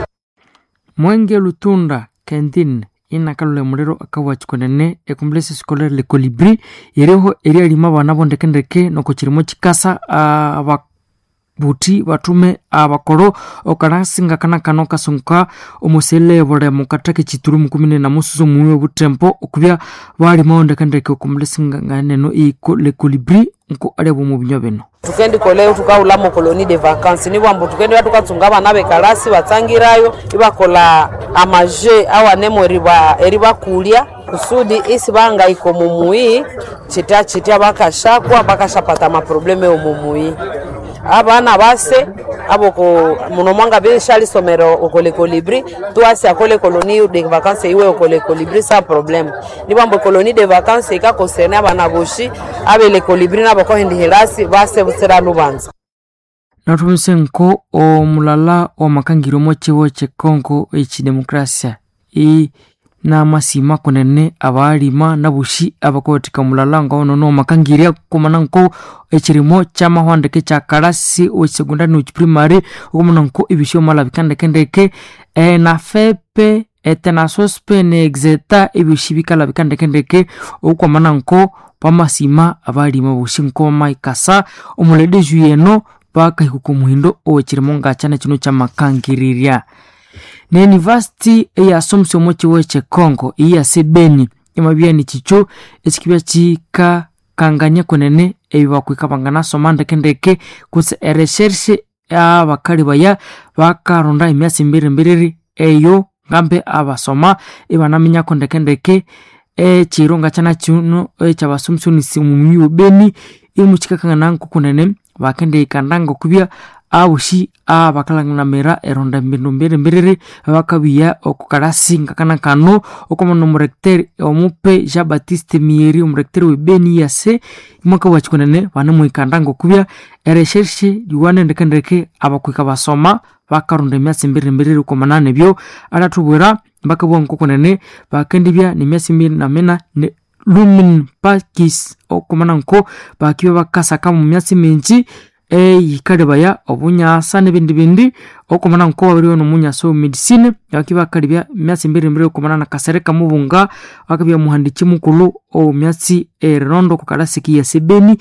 [SPEAKER 14] Mwenge Lutunda Kendin inakalula muliro akawachikonene ekomplese scolaire le colibri iriho erialima abana bondekendeke noko kirimo kikasa ababuti batume abakoro okarasinga kana kano kasunka omusele bulemo katake chituru mukumi na mususu muwe butempo okubya balima ondekendeke okomplese nganeno iko le colibri nko aliabwa omu binywa bino.
[SPEAKER 16] Tukendikoleyo tukaghulamo colonie de vacances nibwambu tukendibya tukatsunga abana bekalasi batsangirayo ibakola amaje awanemu eriba eribakulya kusudi isi bangayika omumuyi chitya chitya bakashakwa bakashapata amaprobleme omumuyi abana base aboko muno mwanga bishalisomero okole colibri tuasi akole colonie de vacances iwe okole colibri sa problème nibwambu colonie de vacances ikakosene abana boshi abele colibri nabakohendihirasi base busira lubanza.
[SPEAKER 14] Nathumise nko omulala owamakangirya omo kyibo kyekongo ekyidemokrasia i namasima kunene abalima naboshi abakowathika omulala ngowonono owamakangirya kumana nko ekyirimo kyamahwandeke kyakalasi owekyisekondari nowekyiprimary okumana nko ebyosi byamalabika ndekendeke enafepe etenasospe ne exeta ebyosi bikalabika ndekendeke okwamana nko bamasima abalima boshi nko bamaikasa omuledeju yeno bakahika omuhindo owekirimo ngakyana kino kyamakangirirya. Ne university eyasomesa omu kiwo ekyekongo iyase Beni imabya nikikyo ekikibya kikakangania kunene ebibakwika banganasoma ndekendeke kutse ereshershe abakali baya bakaronda emyasi mbirimbiriri eyo ngambe abasoma ibanaminyako ndekendeke ekiro ngakyana kino ekyabasomesonisi omu wa Beni imukikakangana nkokunene bakendihikanda ngokubya aboshi abakalangiramira eronda embindu mbirimbiriri bakabiya okukalasi ngakana kano okomana omurecteur omupe Jean Baptiste Mieri omurecteur we Beni yase imwaka wakikunene banemuhikanda ngokubya ereshershe liwane ndekendeke abakwika basoma bakaronda emyasi mbirimbiriri okomana nebyo alathubwira bakabugha nkokunene bakendibya nemyasi mbiri namena ne lumen pakis okomana nko bakibya bakasaka mu myasi mingi eyikalebaya obunyasa nebindi bindi okomana nko babiriwe nomunyasa omu medicine bakibya bakalebya emyasi mbirimbiri okomana na Kasereka Mubunga akabya muhandiki mukulhu omu myasi erirondo okukalasi kiyase Beni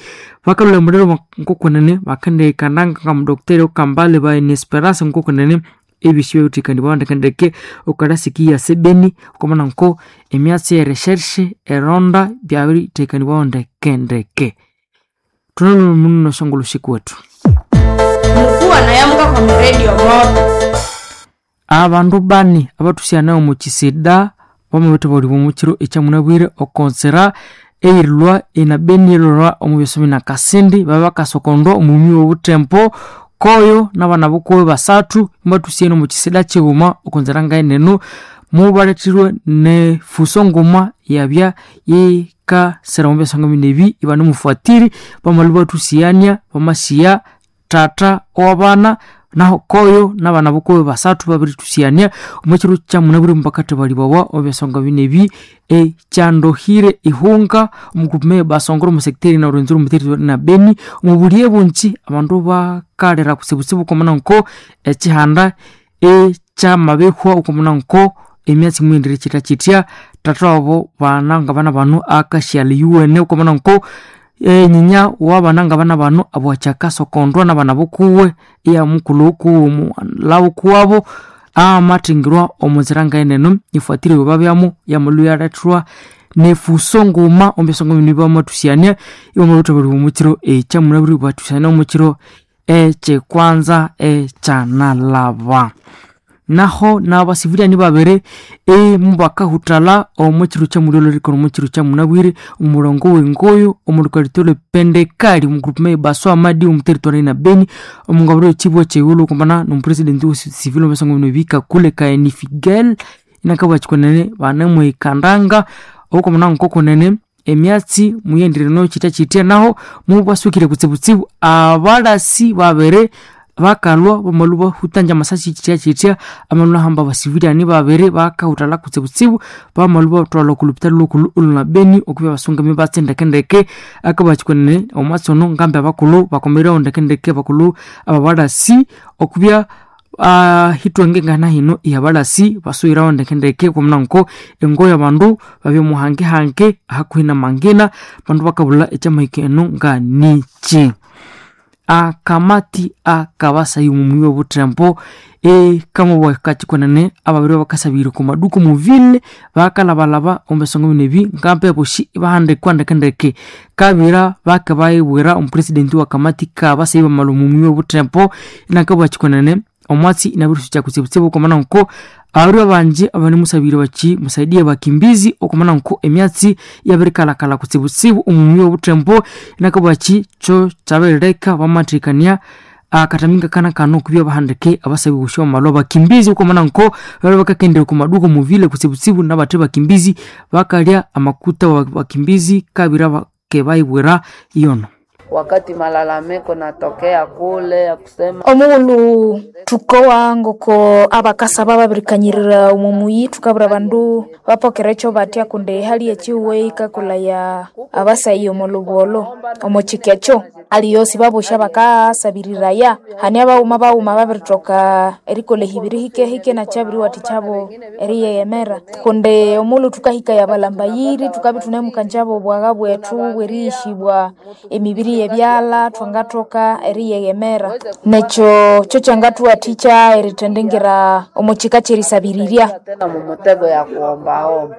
[SPEAKER 14] bakalhwira muliro nkokunene bakendihikanda nga mudokiteri Kambale ba Esperance nkokunene ebyosi byabirithekanibwaho ndekendeke okukalasi kiyase Beni okomana nko emyatsi ereshershe eronda byabirithekanibwaho ndekendeke. Tunalumuno shongolo wetu
[SPEAKER 13] Mukuwa nayamuka kwa redio moto.
[SPEAKER 14] Abandu bani abatusyanayo omu kisida bamabithabalibwa omu kiro ekyamunabwire okonsera eyirilwa ena Beni erilwa omu byosomi na Kasindi babya bakasokondwa omumi wobuthembo koyo nabana bukuwe basathu imbathusiyene omu kisida kighuma okonzera ngaeneno mubalethirwe nefuso nguma yabya yikasira omu byasonga binebi ibanemufuatiri bamalhu bathusiyania bamasiya tata owabana naho koyo nabana bukuwe basathu babirithusiyania omu kiro kyamunabwire mubakathabalibwawa omu byasonga binebi ekyandohire ihunga omukupume basongora omu sector na Rwenzururu omu territory na Beni omu buliye bungi abandu bakalira kutsibutsibu okomana nko ekihanda ekyamabihwa okomana nko emyatsi mwendire chitya chitya tata wabo bana nga bana bano akashyala yuwene okomana nko enyinya wabana nga bana bano abwakyakasokondwa nabana bukuwe iya mukulhu ukuwe lawu kuwabo amathingirwa omunzira ngaeneno ifuatire babyamu yamalhu yalethwa nefuso nguma omubyasonga bino bamathusiyania ibamabirithabalibwa omukiro ekyamunabwire bathusiyania omukiro ekyekwanza ekyanalaba. Naho nabasiviliani babiri emubakahuthalha omu kiro kyamulyolho erikora omu kiro kyamunabwire omurongo wengoyo omu lukalito pendekali omu groupement Baswa Madi omu territory na Beni omungabiro ekibwa kyeghulhu okumbana nomupresident we civil omubyasonga bino bikakule Kaeni Figel inakabugha kikunene banemuhikandanga okumana nkokunene emyatsi muyendire chitya chitya naho mubasukire kutsibutsibu abalasi babiri bakalwa bamalu bahutanja amasasi chitya chitya amalu nahamba abasiviliani babiri bakahuthala kutsibutsibu bamalu bathwalha okulupitali lhukulhu oluna Beni okubya basungami batsi ndekendeke akabakyikunene omwatsi ono ngambi abakulhu bakomerewo ndekendeke abakulhu ababalasi okubya Uh, hitwange ngana hino iyabalasi basuirawo ndekendeke kwamuna nko engoyo abandu babya muhangehange hakuhi na mangina bandu bakabulha ekyamahika eno nga niki. Akamati akabasayi mumuyi w'obutembo ekamubwa kachikonene ababiri bakasabire ku maduka muvile bakalabalaba omu besongo bino ebi ngampe boshi bahandikwa ndekendeke kabira bakabayibwira omupresidenti wa kamati kabasayi bamala omumuyi w'obutembo inakabwa chikonene omwatsi inabirisucha kutsibutsibu okomana nko ababiri babanje abanemusabire bachi musaidie bakimbizi okomana nko emyatsi yabirikalakala kutsibutsibu omumuyi w'obutembo inakabwa chi cho kyabirileka bamathikania akataminga kana kano kubya bahandike abasabi bushwa malo bakimbizi okomana nko bali bakakendera ku maduka muvile kutsibutsibu nabathe bakimbizi bakalya amakuta wa bakimbizi kabira bakebayibwira iyono
[SPEAKER 16] wakati malalamiko natokea kule ya kusema
[SPEAKER 13] omughulhu thukowa ngoko abakasaba babirikanyirira omumuyi thukabwira abandu bapokera ekyo batya kundi ehali ekihuwe yikakolaya abasayi omo lubolo omo kika ekyo aliyosi babosha bakasabiriraya hani abaghuma baghuma babirithoka erikolha ehibiri hikehike nakyabiriwathikyabo eriyeghemera kundi omughulhu thukahikaya abalambayiri thukabya ithunemukanjabo obwagha bwethu bweriyishibwa emibiri yebyalha thwangathoka eriyeghemera nekyo kyo kyangathuwathikya erithendingira omo kika kyerisabirirya
[SPEAKER 16] tena mumutego ya kuombaomba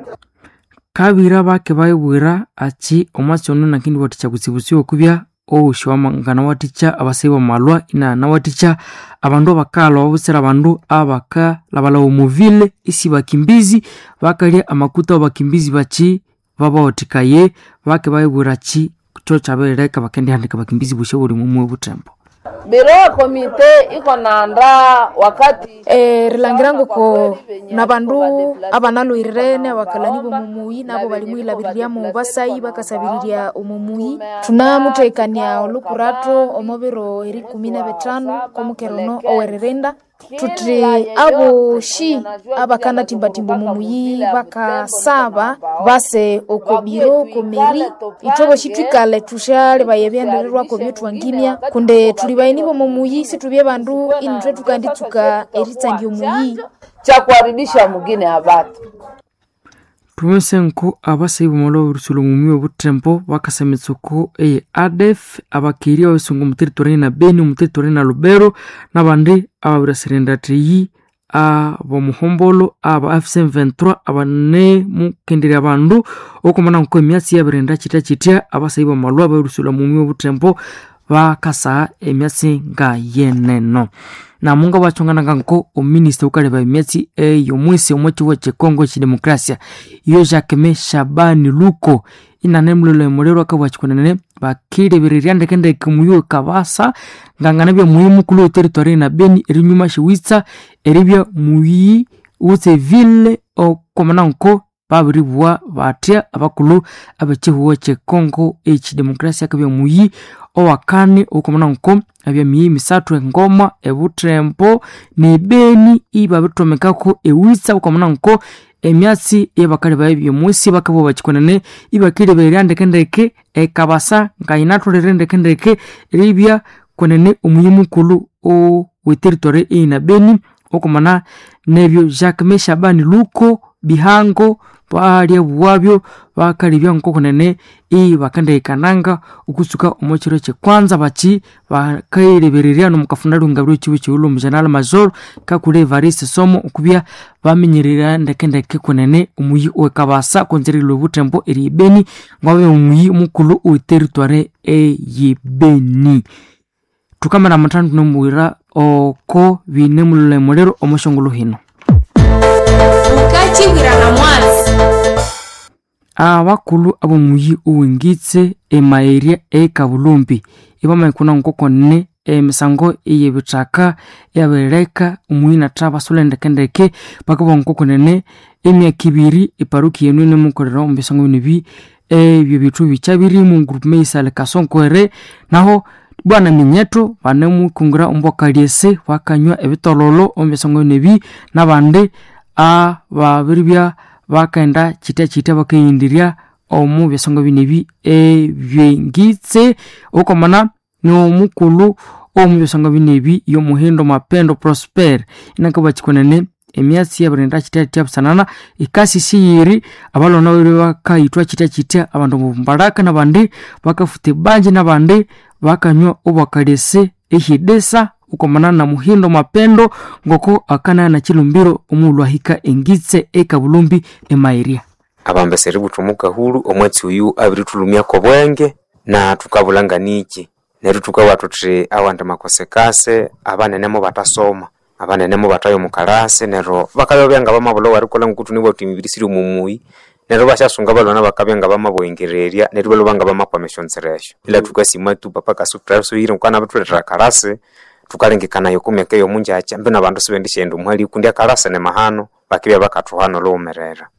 [SPEAKER 14] kabira bakebayibwira achi omwatsi ono nakindi wathikya kutsibutsibu okubya owosi nganawathikya abasayi bamalwa inanawathikya abandu abakalwa babutsira abandu abakalabalaba omuvile isi bakimbizi bakalya amakuta wabakimbizi bachi babawathikaye bakebayibwira achi kyo kyabirileka bakendihandika bakimbizi busya buli mumwe butembo
[SPEAKER 16] biro ya komite iko naandaa wakati
[SPEAKER 13] erilangira ngoko nabandu abanalwirene abakalani bomumuyi nabo balimwilabiriryamu basayi bakasabirirya omumuyi thunamuthekania olukurato omo biro erikumi na bithanu komukero ono oweririnda thuthi aboshi abakanathimbathimba omumuyi bakasaba base oko biro oko meri ithwe boshi thwikale thusyalebaya ebyendererwako byethwangimya kundi thuli bayeni bomumuyi sithubye bandu inithwe thukanditsuka eritsangia omuyi
[SPEAKER 16] cha kuharibisha mugine abatu
[SPEAKER 14] Tumese nko abasayi bamala oburusulo mumi obutembo bakasa emitsoko eye A D F abakiri ababisungu omu territory na Beni omu territory na Lubero nabandi ababirasirendatheyi abomuhombolo aba F C twenty-three abanemukenderya abandu okomana nko emyatsi yabirinda kitya kitya abasayi bamalwa babirusula mumi obutembo bakasa emyatsi nga yeneno namunga bachongananga nko ominista ukaleba emyatsi eyomwisi omwechiwa chekongo chidemokrasia iyo Jacquemain Shabani Luko inane mulolo emulero akabwachikonene bakilebererya ndekendeke muyo kabasa ngangana bya muhimu kulo territory na Beni erinyuma shiwitsa eribya muyi utse ville okomana nko babiribwa batya abakulu abechihuwa chekongo echidemokrasia akabya muyi owakane okomana nko abya miyi misathu engoma ebutembo nebeni ibabitomekako ewitsa okomana nko emyatsi eyabakali baye byomusi bakabwa bachikonene ibakilebererya ndekendeke ekabasa ngayinatholere ndekendeke eribya konene omuyi mukulu oweteritory eyina Beni okomana nebyo Jacquemain Shabani Luko bihango balya bwabyo bakalibya nkokonene ibakandekananga okusuka omwekiro kyekwanza bachi bakailebererya nomukafunda lungabiro chibu chiwulo omugeneral major kakule Evariste Somo okubya baminyerera ndekendeke konene omuyi owekabasa konzerilwe obutembo eri Beni ngwabe omuyi omukulu oweteritware eyibeni thukamana amathanu tunomuwira oko bine mulule omoshongolo hino.
[SPEAKER 13] Ukachibwirana mwatsi.
[SPEAKER 14] Abakulu abomuyi owengitse emaeria ekabulumbi ibamaikuna nkokonene emisango eyebithaka eyabirileka omuyi natha basule ndekendeke bakabugha nkokonene emyaka ibiri eparuki yenu inemukolera omu bisango bino ebi ebyo bithu bikyabirimu groupement isale kasonkwere naho bwana minyeto banemukungura ombwakalyese bakanywa ebitololo omu bisango bino ebi nabandi ababiribya bakaenda kitya kitya bakayindirya omu bisango bino ebi ebyengitse okomana n'omukulhu omu bisango bino ebi yomuhindo Mapendo Prosper inakabwa kikonene Emyatsi yabirinda kitya kitya busanana ikasi siyiri abalwana babiri bakayithwa kitya kitya abandu mumbalaka nabandi bakafuta ebanje nabandi bakanywa obwakalese ehidesa ukomana na Muhindo Mapendo ngoko akanaya na Chilumbiro omughulhu ahika engitse ekabulumbi emairia.
[SPEAKER 17] Abambesa eributha omukahulhu omwatsi oyu abirithulhumyako obwenge na thukabulhanganiki neryo thukabugha thuthi awandi makosekase abanene mubathasoma, abanene mubathaya omukalasi neryo bakabya ngabamabulha owerikolha ngoku thunabugha thuthi emibiri siri omumuyi neryo ibasyasunga abalhwana bakabya ngabamabughengererya neryo ibalhwa ngabamakwama esyonzira esyo. Ila thukasima tu papa Kasuku ngoku anabithulethera akalasi thukalengekanaya oko myaka eyomungyakya mbinu abandu sibendisyaghenda omuhali kundi akalasi ni mahano bakibya bakathuhana olhughumerera.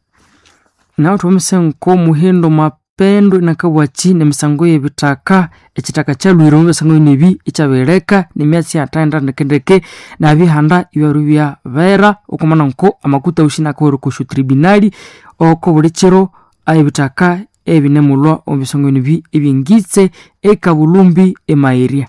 [SPEAKER 14] Naho thwamisa nko Muhindo Mapendo inakabwaki nemisango yebithaka ekithaka kyalhwire omu bisango nebi ikyabireka nemyatsi yathaghenda ndekendeke nabihanda ibyaru byabera okwamana nko amakuta wusi nakawere okosyo tribunali oko buli kiro ebithaka ebinemulhwa omu bisango nebi ebyengitse ekabulumbi emairya.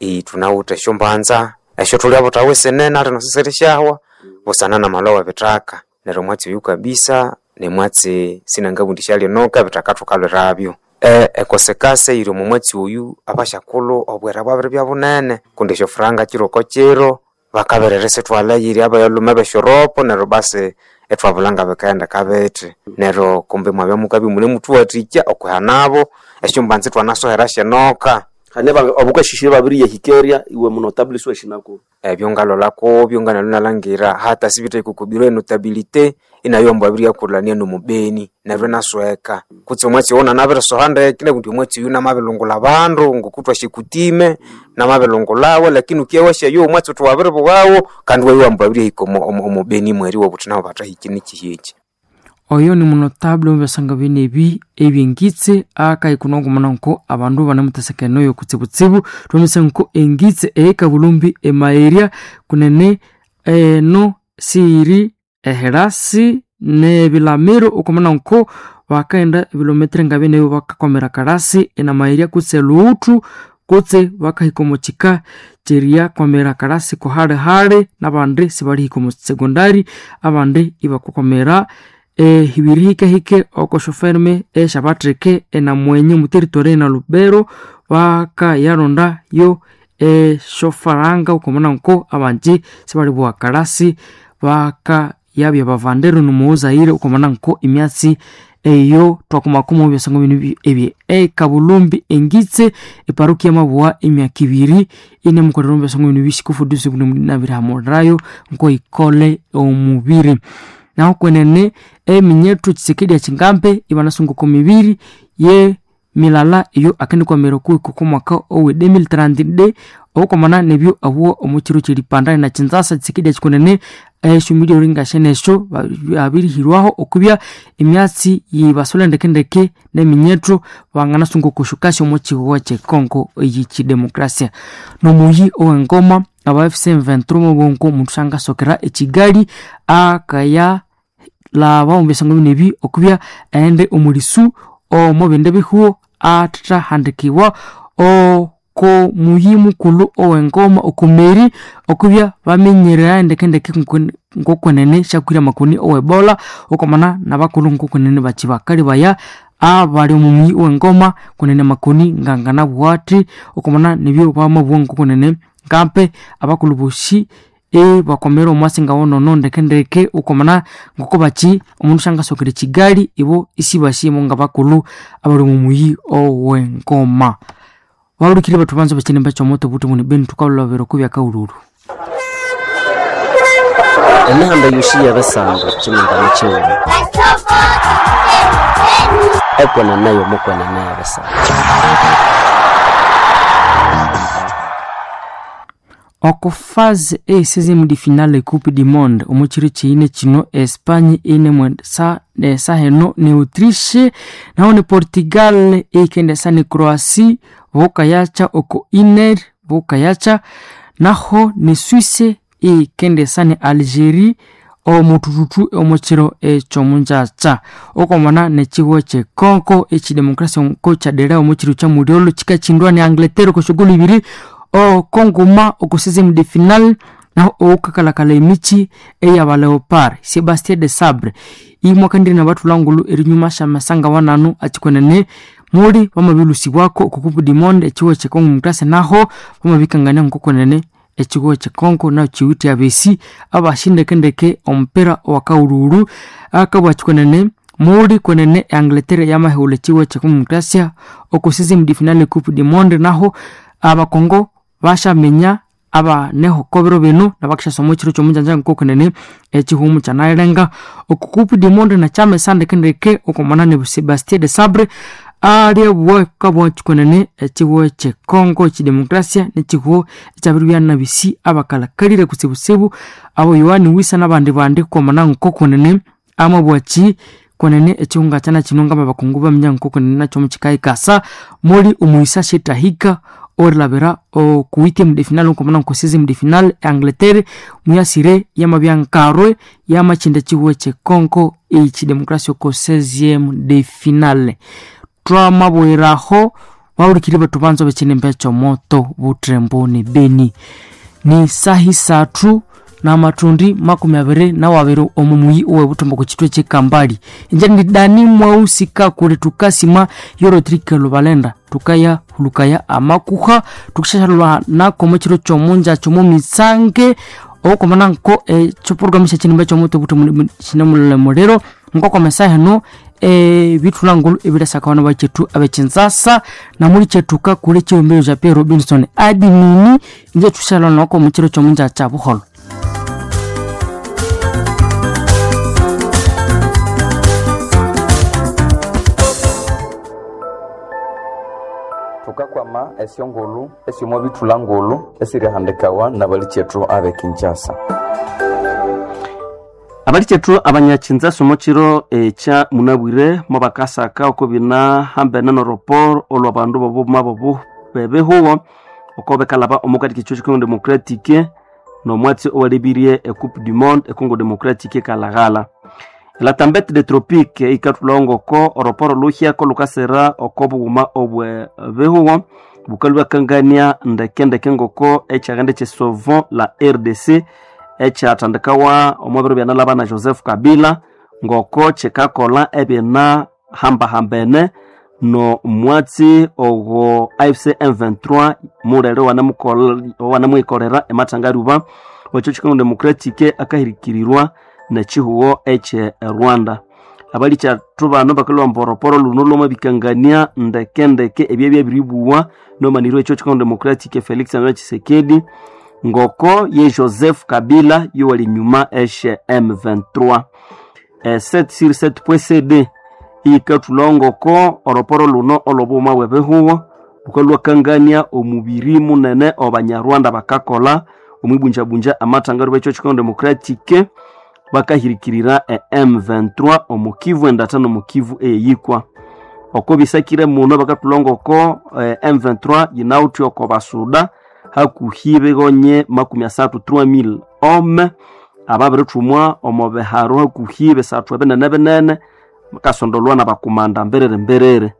[SPEAKER 17] Ii thunawithe esyombanza esyo thulyabuthawa esinene alino sisirisyawa busana namalhwa webithaka neryo omwatsi oyu kabisa nimwatsi sinangabugha indi syalinoka ebithaka thukalhwirabyo. E ekosekase eyiri omo mwatsi oyu abasyakulhu obwira bwabiribya bunene kundi esyofuranga kiro oko kiro bakabiririsithwalha eyiri abalhume besyoropo neryo basi ithwabulha ngabikaghenda bithi neryo kumbi mwabya mukabya imunemuthuwathikya okwihanabo esyombanza ithwanasohera syenoka.
[SPEAKER 1] Hane abukashishire babiriyahikeria iwe munotable siwashinako
[SPEAKER 17] ebyo ngalholha kubyo nganalwe nalhangira hata sibithaika oko biro enotabilite inayo ambu abiryakulhania nomubeni neryo inasweka kutse omwatsi owo nanabirisoha ndeke nabundi omwatsi oyu namabilungulha abandu ngoku thwasyikutime namabilungulhawo lakini ukiya wasyayo omwatsi uthi wabiribughawo kandi iwabya ambu abiryahika omubeni mweri iwabuthi nabo bathahike nikihi eki.
[SPEAKER 14] Oyo ni munotable omu bine ebi ebyengitse akayikuna okumana nko abandu banemuthesekene oyo kutsibutsibu twamisa nko engitse eyekabulumbi emairya kunene eno siyiri eherasi nebilamiro okumana nko bakaghenda ebilometre nga bine bakakwamira kalasi enamairya kutse lughuthu kutse bakahika omu kika kyeriyakwamira kalasi kuhalihali nabandi sibalihika omu sekondari abandi ibakakwamira ebirihikahike okoshoferme esyabatheke enamwenye omuteritori ena Lubero bakayalonda yo esyofaranga okwamana nko abanji sibalibugha kalasi bakayabya bavandero nomughuzayire okwamana nko emyatsi eyo twakumakuma omu byasango bino ebye ekabulumbi engitse eparokia yamabugha emyaka ibiri inemukolera omu byasango bino bisikufudusi nabirihamulirayo nko ikole omubiri. Naho kwenene eminyethu Tshisekedi Tshingambe ibanasunga oko mibiri ye milala eyo akendikwamira okuhika oko mwaka owe elfu mbili thirty okwamana nebyo abuwa omu kiro kyeripanda na Kinshasa. Tshisekedi Tshikonene esyo milioni ngashenesyo abirihirwaho okubya emyatsi yibasola ndekendeke neminyethu banganasunga okushukasya omu kihugho kyekongo eyikidemokrasia. Nomuyi owengoma aba F C M twenty-three mubongo omundu syangasokera ekigali akaya laba omu bisango bino ebi okubya aghende omulisu omu bindi bihugho athathahandikibwa oko muyi mukulhu owengoma okumeri okubya baminyerera ndekendeke ngokwenene syakwira amakoni owebola okwamana nabakulhu ngokwenene bakyi bakalibaya abali omu muyi owengoma kwenene amakoni nganganabugha athi okwamana nibyo bamabugha ngokwenene ngampe abakulhu bosi ebakomera omwasi ngawonono ndekendeke okwamana ngoko bakyi omundu syangasokera ekigali ibo isibasimo ngabakulhu abali omu muyi owengoma. Babulikire bathu banza bakyinemba kyomoto obuthi buni beni thukalholabera okubya kaghulhulhu.
[SPEAKER 1] Emihanda yosi yebisando kyimindani kyighuma ekwenene yomukwenene yebisando.
[SPEAKER 14] Oko fase e seizième de finale e Coupe du Monde omu kiro kyiyine kino Espagne inemwendesa esaheno ne Autriche naho ne Portugal ikendesa ne Croatie bokayakya oko Iner bokayakya naho ne Suisse ikendesa ne Algerie omutututu omukiro ekyomungyakya okwamana nekihugho kyekongo ekidemokrasia ko kyadera omukiro kyamulyolho kikakyindwa ne Angleterre okwa syogolo ibiri okongoma oko seizième de finale Naho oukakalakala emichi eya Leopard Sebastien de Sabre imwakandire na bathulangulu erinyuma syamasanga wananu achikwenene muli bamabilusibwako oko Coupe du Monde echiwo echekongo mutase naho bamabikangania nkokwenene echiwo echekongo naho chiwithe abesi abashindekendeke omupira owakaululu akabwa chikwenene muli kwenene Angleterre yamahewula echiwo echekongo mutasia oko seizième de finale Coupe du Monde naho abakongo bashaminya abaneho kobiro bino nabakishasoma ekiro kyomunjanja nkokunene ekihumu kyanayilenga oko Coupe du Monde nakyamesandekendeke okomanane Sebastien de Sabre aliabwa kabwa kikonene ekihuo ekyekongo ekidemokrasia nekihuo ekyabiri byanabisi abakalakalire kutsibutsibu abo Yohani Wisa nabandi bandi komana nkokunene amabwaki kwenene ekihunga kyana kino ngama bakungu baminya nkokunene nakyo mukikahikasa muli omuisa shetahika orilabira oku huitième de finale nkomana nko seizième de finale Angleterre muyasire yamabyankarwe yamakindi ekihuo ekyekongo ekidemokrasia oko seizième de finale twamabwiraho wawulikiri bethu banzo bekinembe kyomoto butembo ne beni ni sahi sathu namathundi makumi abiri nawabiri omu muyi owe butembo ku kitwe kyekambali inje ndi dani mwausika kuli tukasima yorotrike lubalenda tukaya hulukaya amakuha tukishashalwa nako mukiro kyomunja kyomu mitsange okomana nko ekyoprogramu syekinimba kyomoto butembo kinemulero nkokomesa heno ebithulangulu ebilasakawana bakyetu abekinzasa namuli kyetuka kuli ekiwumbiro kya Pierre Robinson adimini inje thushalwa nako mukiro kyomunja kya buholo.
[SPEAKER 18] Thukakwama esyongulhu esyomwa bithulangulhu esirihandikawa nabalikyetu abe Kinshasa.
[SPEAKER 19] Abalikyetu abanyakinzasa omukiro ekya munabwire mubakasaka oko bina hambene noroporo olwa bandu bobuma bobu bebihuwo oko bekalaba omukati kikyo kye Congo Democratique nomwatsi owalebirie e Coupe du Monde e Congo Democratique kalaghala. La tempête de tropique ikathulonga oko oroporo luhyako lukasira oko bughuma obwe bihuwo bukalwa bakangania ndekendeke ngoko ekyaghende kye la R D C ekyathandikawa omu biro byanalaba na Joseph Kabila ngoko kyikakolha ebina hambahambene no mwatsi ogo A F C M twenty-three mulere wanamuikolera emathangaruba wekyo Congo Democratique akahirikirirwa nekihuwo ekye Rwanda. Abalikyathu bano bakalwa mporoporo luno lwamabikangania ndekendeke ebyebyabiribuwa nomanirwe ekyo Congo Democratique Felix Antoine Tshisekedi ngoko ye Joseph Kabila yowali nyuma eshe M twenty-three. E sept sur sept point C D ikathulongoko oroporo luno olobuma bwebihuwo bukalwakangania omubiri munene obanyarwanda bakakola omwibunjabunja amathangaro bekyo Congo Democratique bakahirikirira e M twenty-three omukivu endatha nomukivu eyikwa oko bisakire muno bakathulongoko eh, M twenty-three yinawuthi oko basuda hakuhi bigonye makumi asathu trois mille hommes ababirithumwa omo biharo hakuhi bisathu ebinene binene kasondolwa nabakumanda mbiriri mbiriri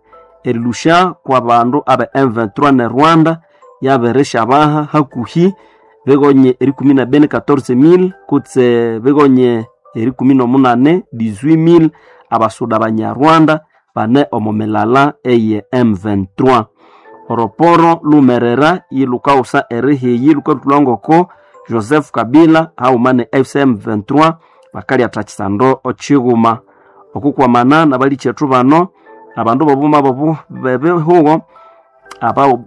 [SPEAKER 19] erilusha kwa bandu abe M twenty-three ne Rwanda yabirishabaha hakuhi bigonye erikumi na bene quatorze mille kutse bigonye erikumi nomunane dix-huit mille abasuda banyarwanda bane omo milala eye M twenty-three. Oroporo lumerera yilukausa erihiyi lukathulangoko Joseph Kabila hauma F C M twenty-three bakalya kisando ochighuma okukwamana nabalikyethu bano abandu bobuma bobu bebihuwo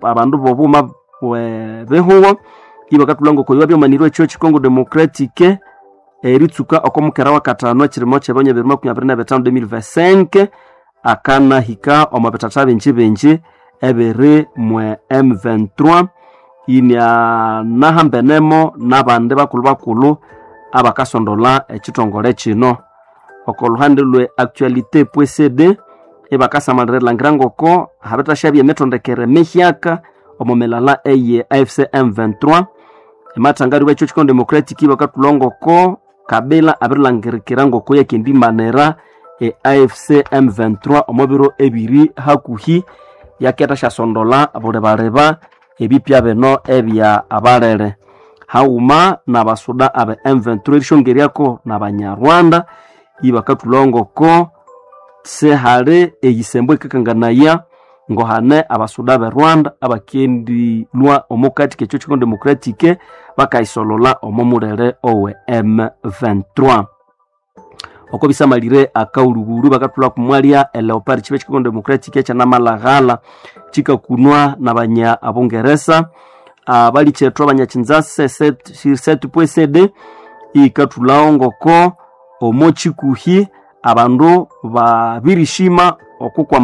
[SPEAKER 19] abandu bobuma bwebihuwo ibakathulangoko ibabyomanirwe ekyo Congo Democratique eritsuka okomukera wa katano ekirimo kyebyonya bibiri makumi abiri na bitano deux mille vingt-cinq akanahika omo bithatha bingi bingi ebiri mwe M twenty-three inianahambenemo nabandi bakulhu bakulhu abakasondola ekithongole kino. Oko luhande lwe actualité point C D ibakasamalira erilhangira ngoko habithashabya emithondekere mihyaka omo milala eye A F C M twenty-three emathangari wekyo Congo Democratic ibakathulha Kabila abirilangirikira ngoko yakendimanira e A F C M twenty-three omo biro ebiri hakuhi yaketha syasondola bulibaleba ebipya bino ebya abalere. Hauma n'abasuda abe M vingt-trois erishongeryako n'abanyarwanda ibakathulha ngoko sihali eyisembo ikakanganaya ngohane abasuda be Rwanda abakendilwa omukati k'ekyo Congo Democratique bakayisolola omo mulere owe M vingt-trois. Oko bisamalire akauluguru bakathulha kumwalya eleopard chibe Congo Democratique ekyanamalahala chikakunwa n'abanya abongeresa abalikyethwa abanyachinzase sept point C D ikathulhawo ngoko omo chikuhi abandu babirishima okukwama.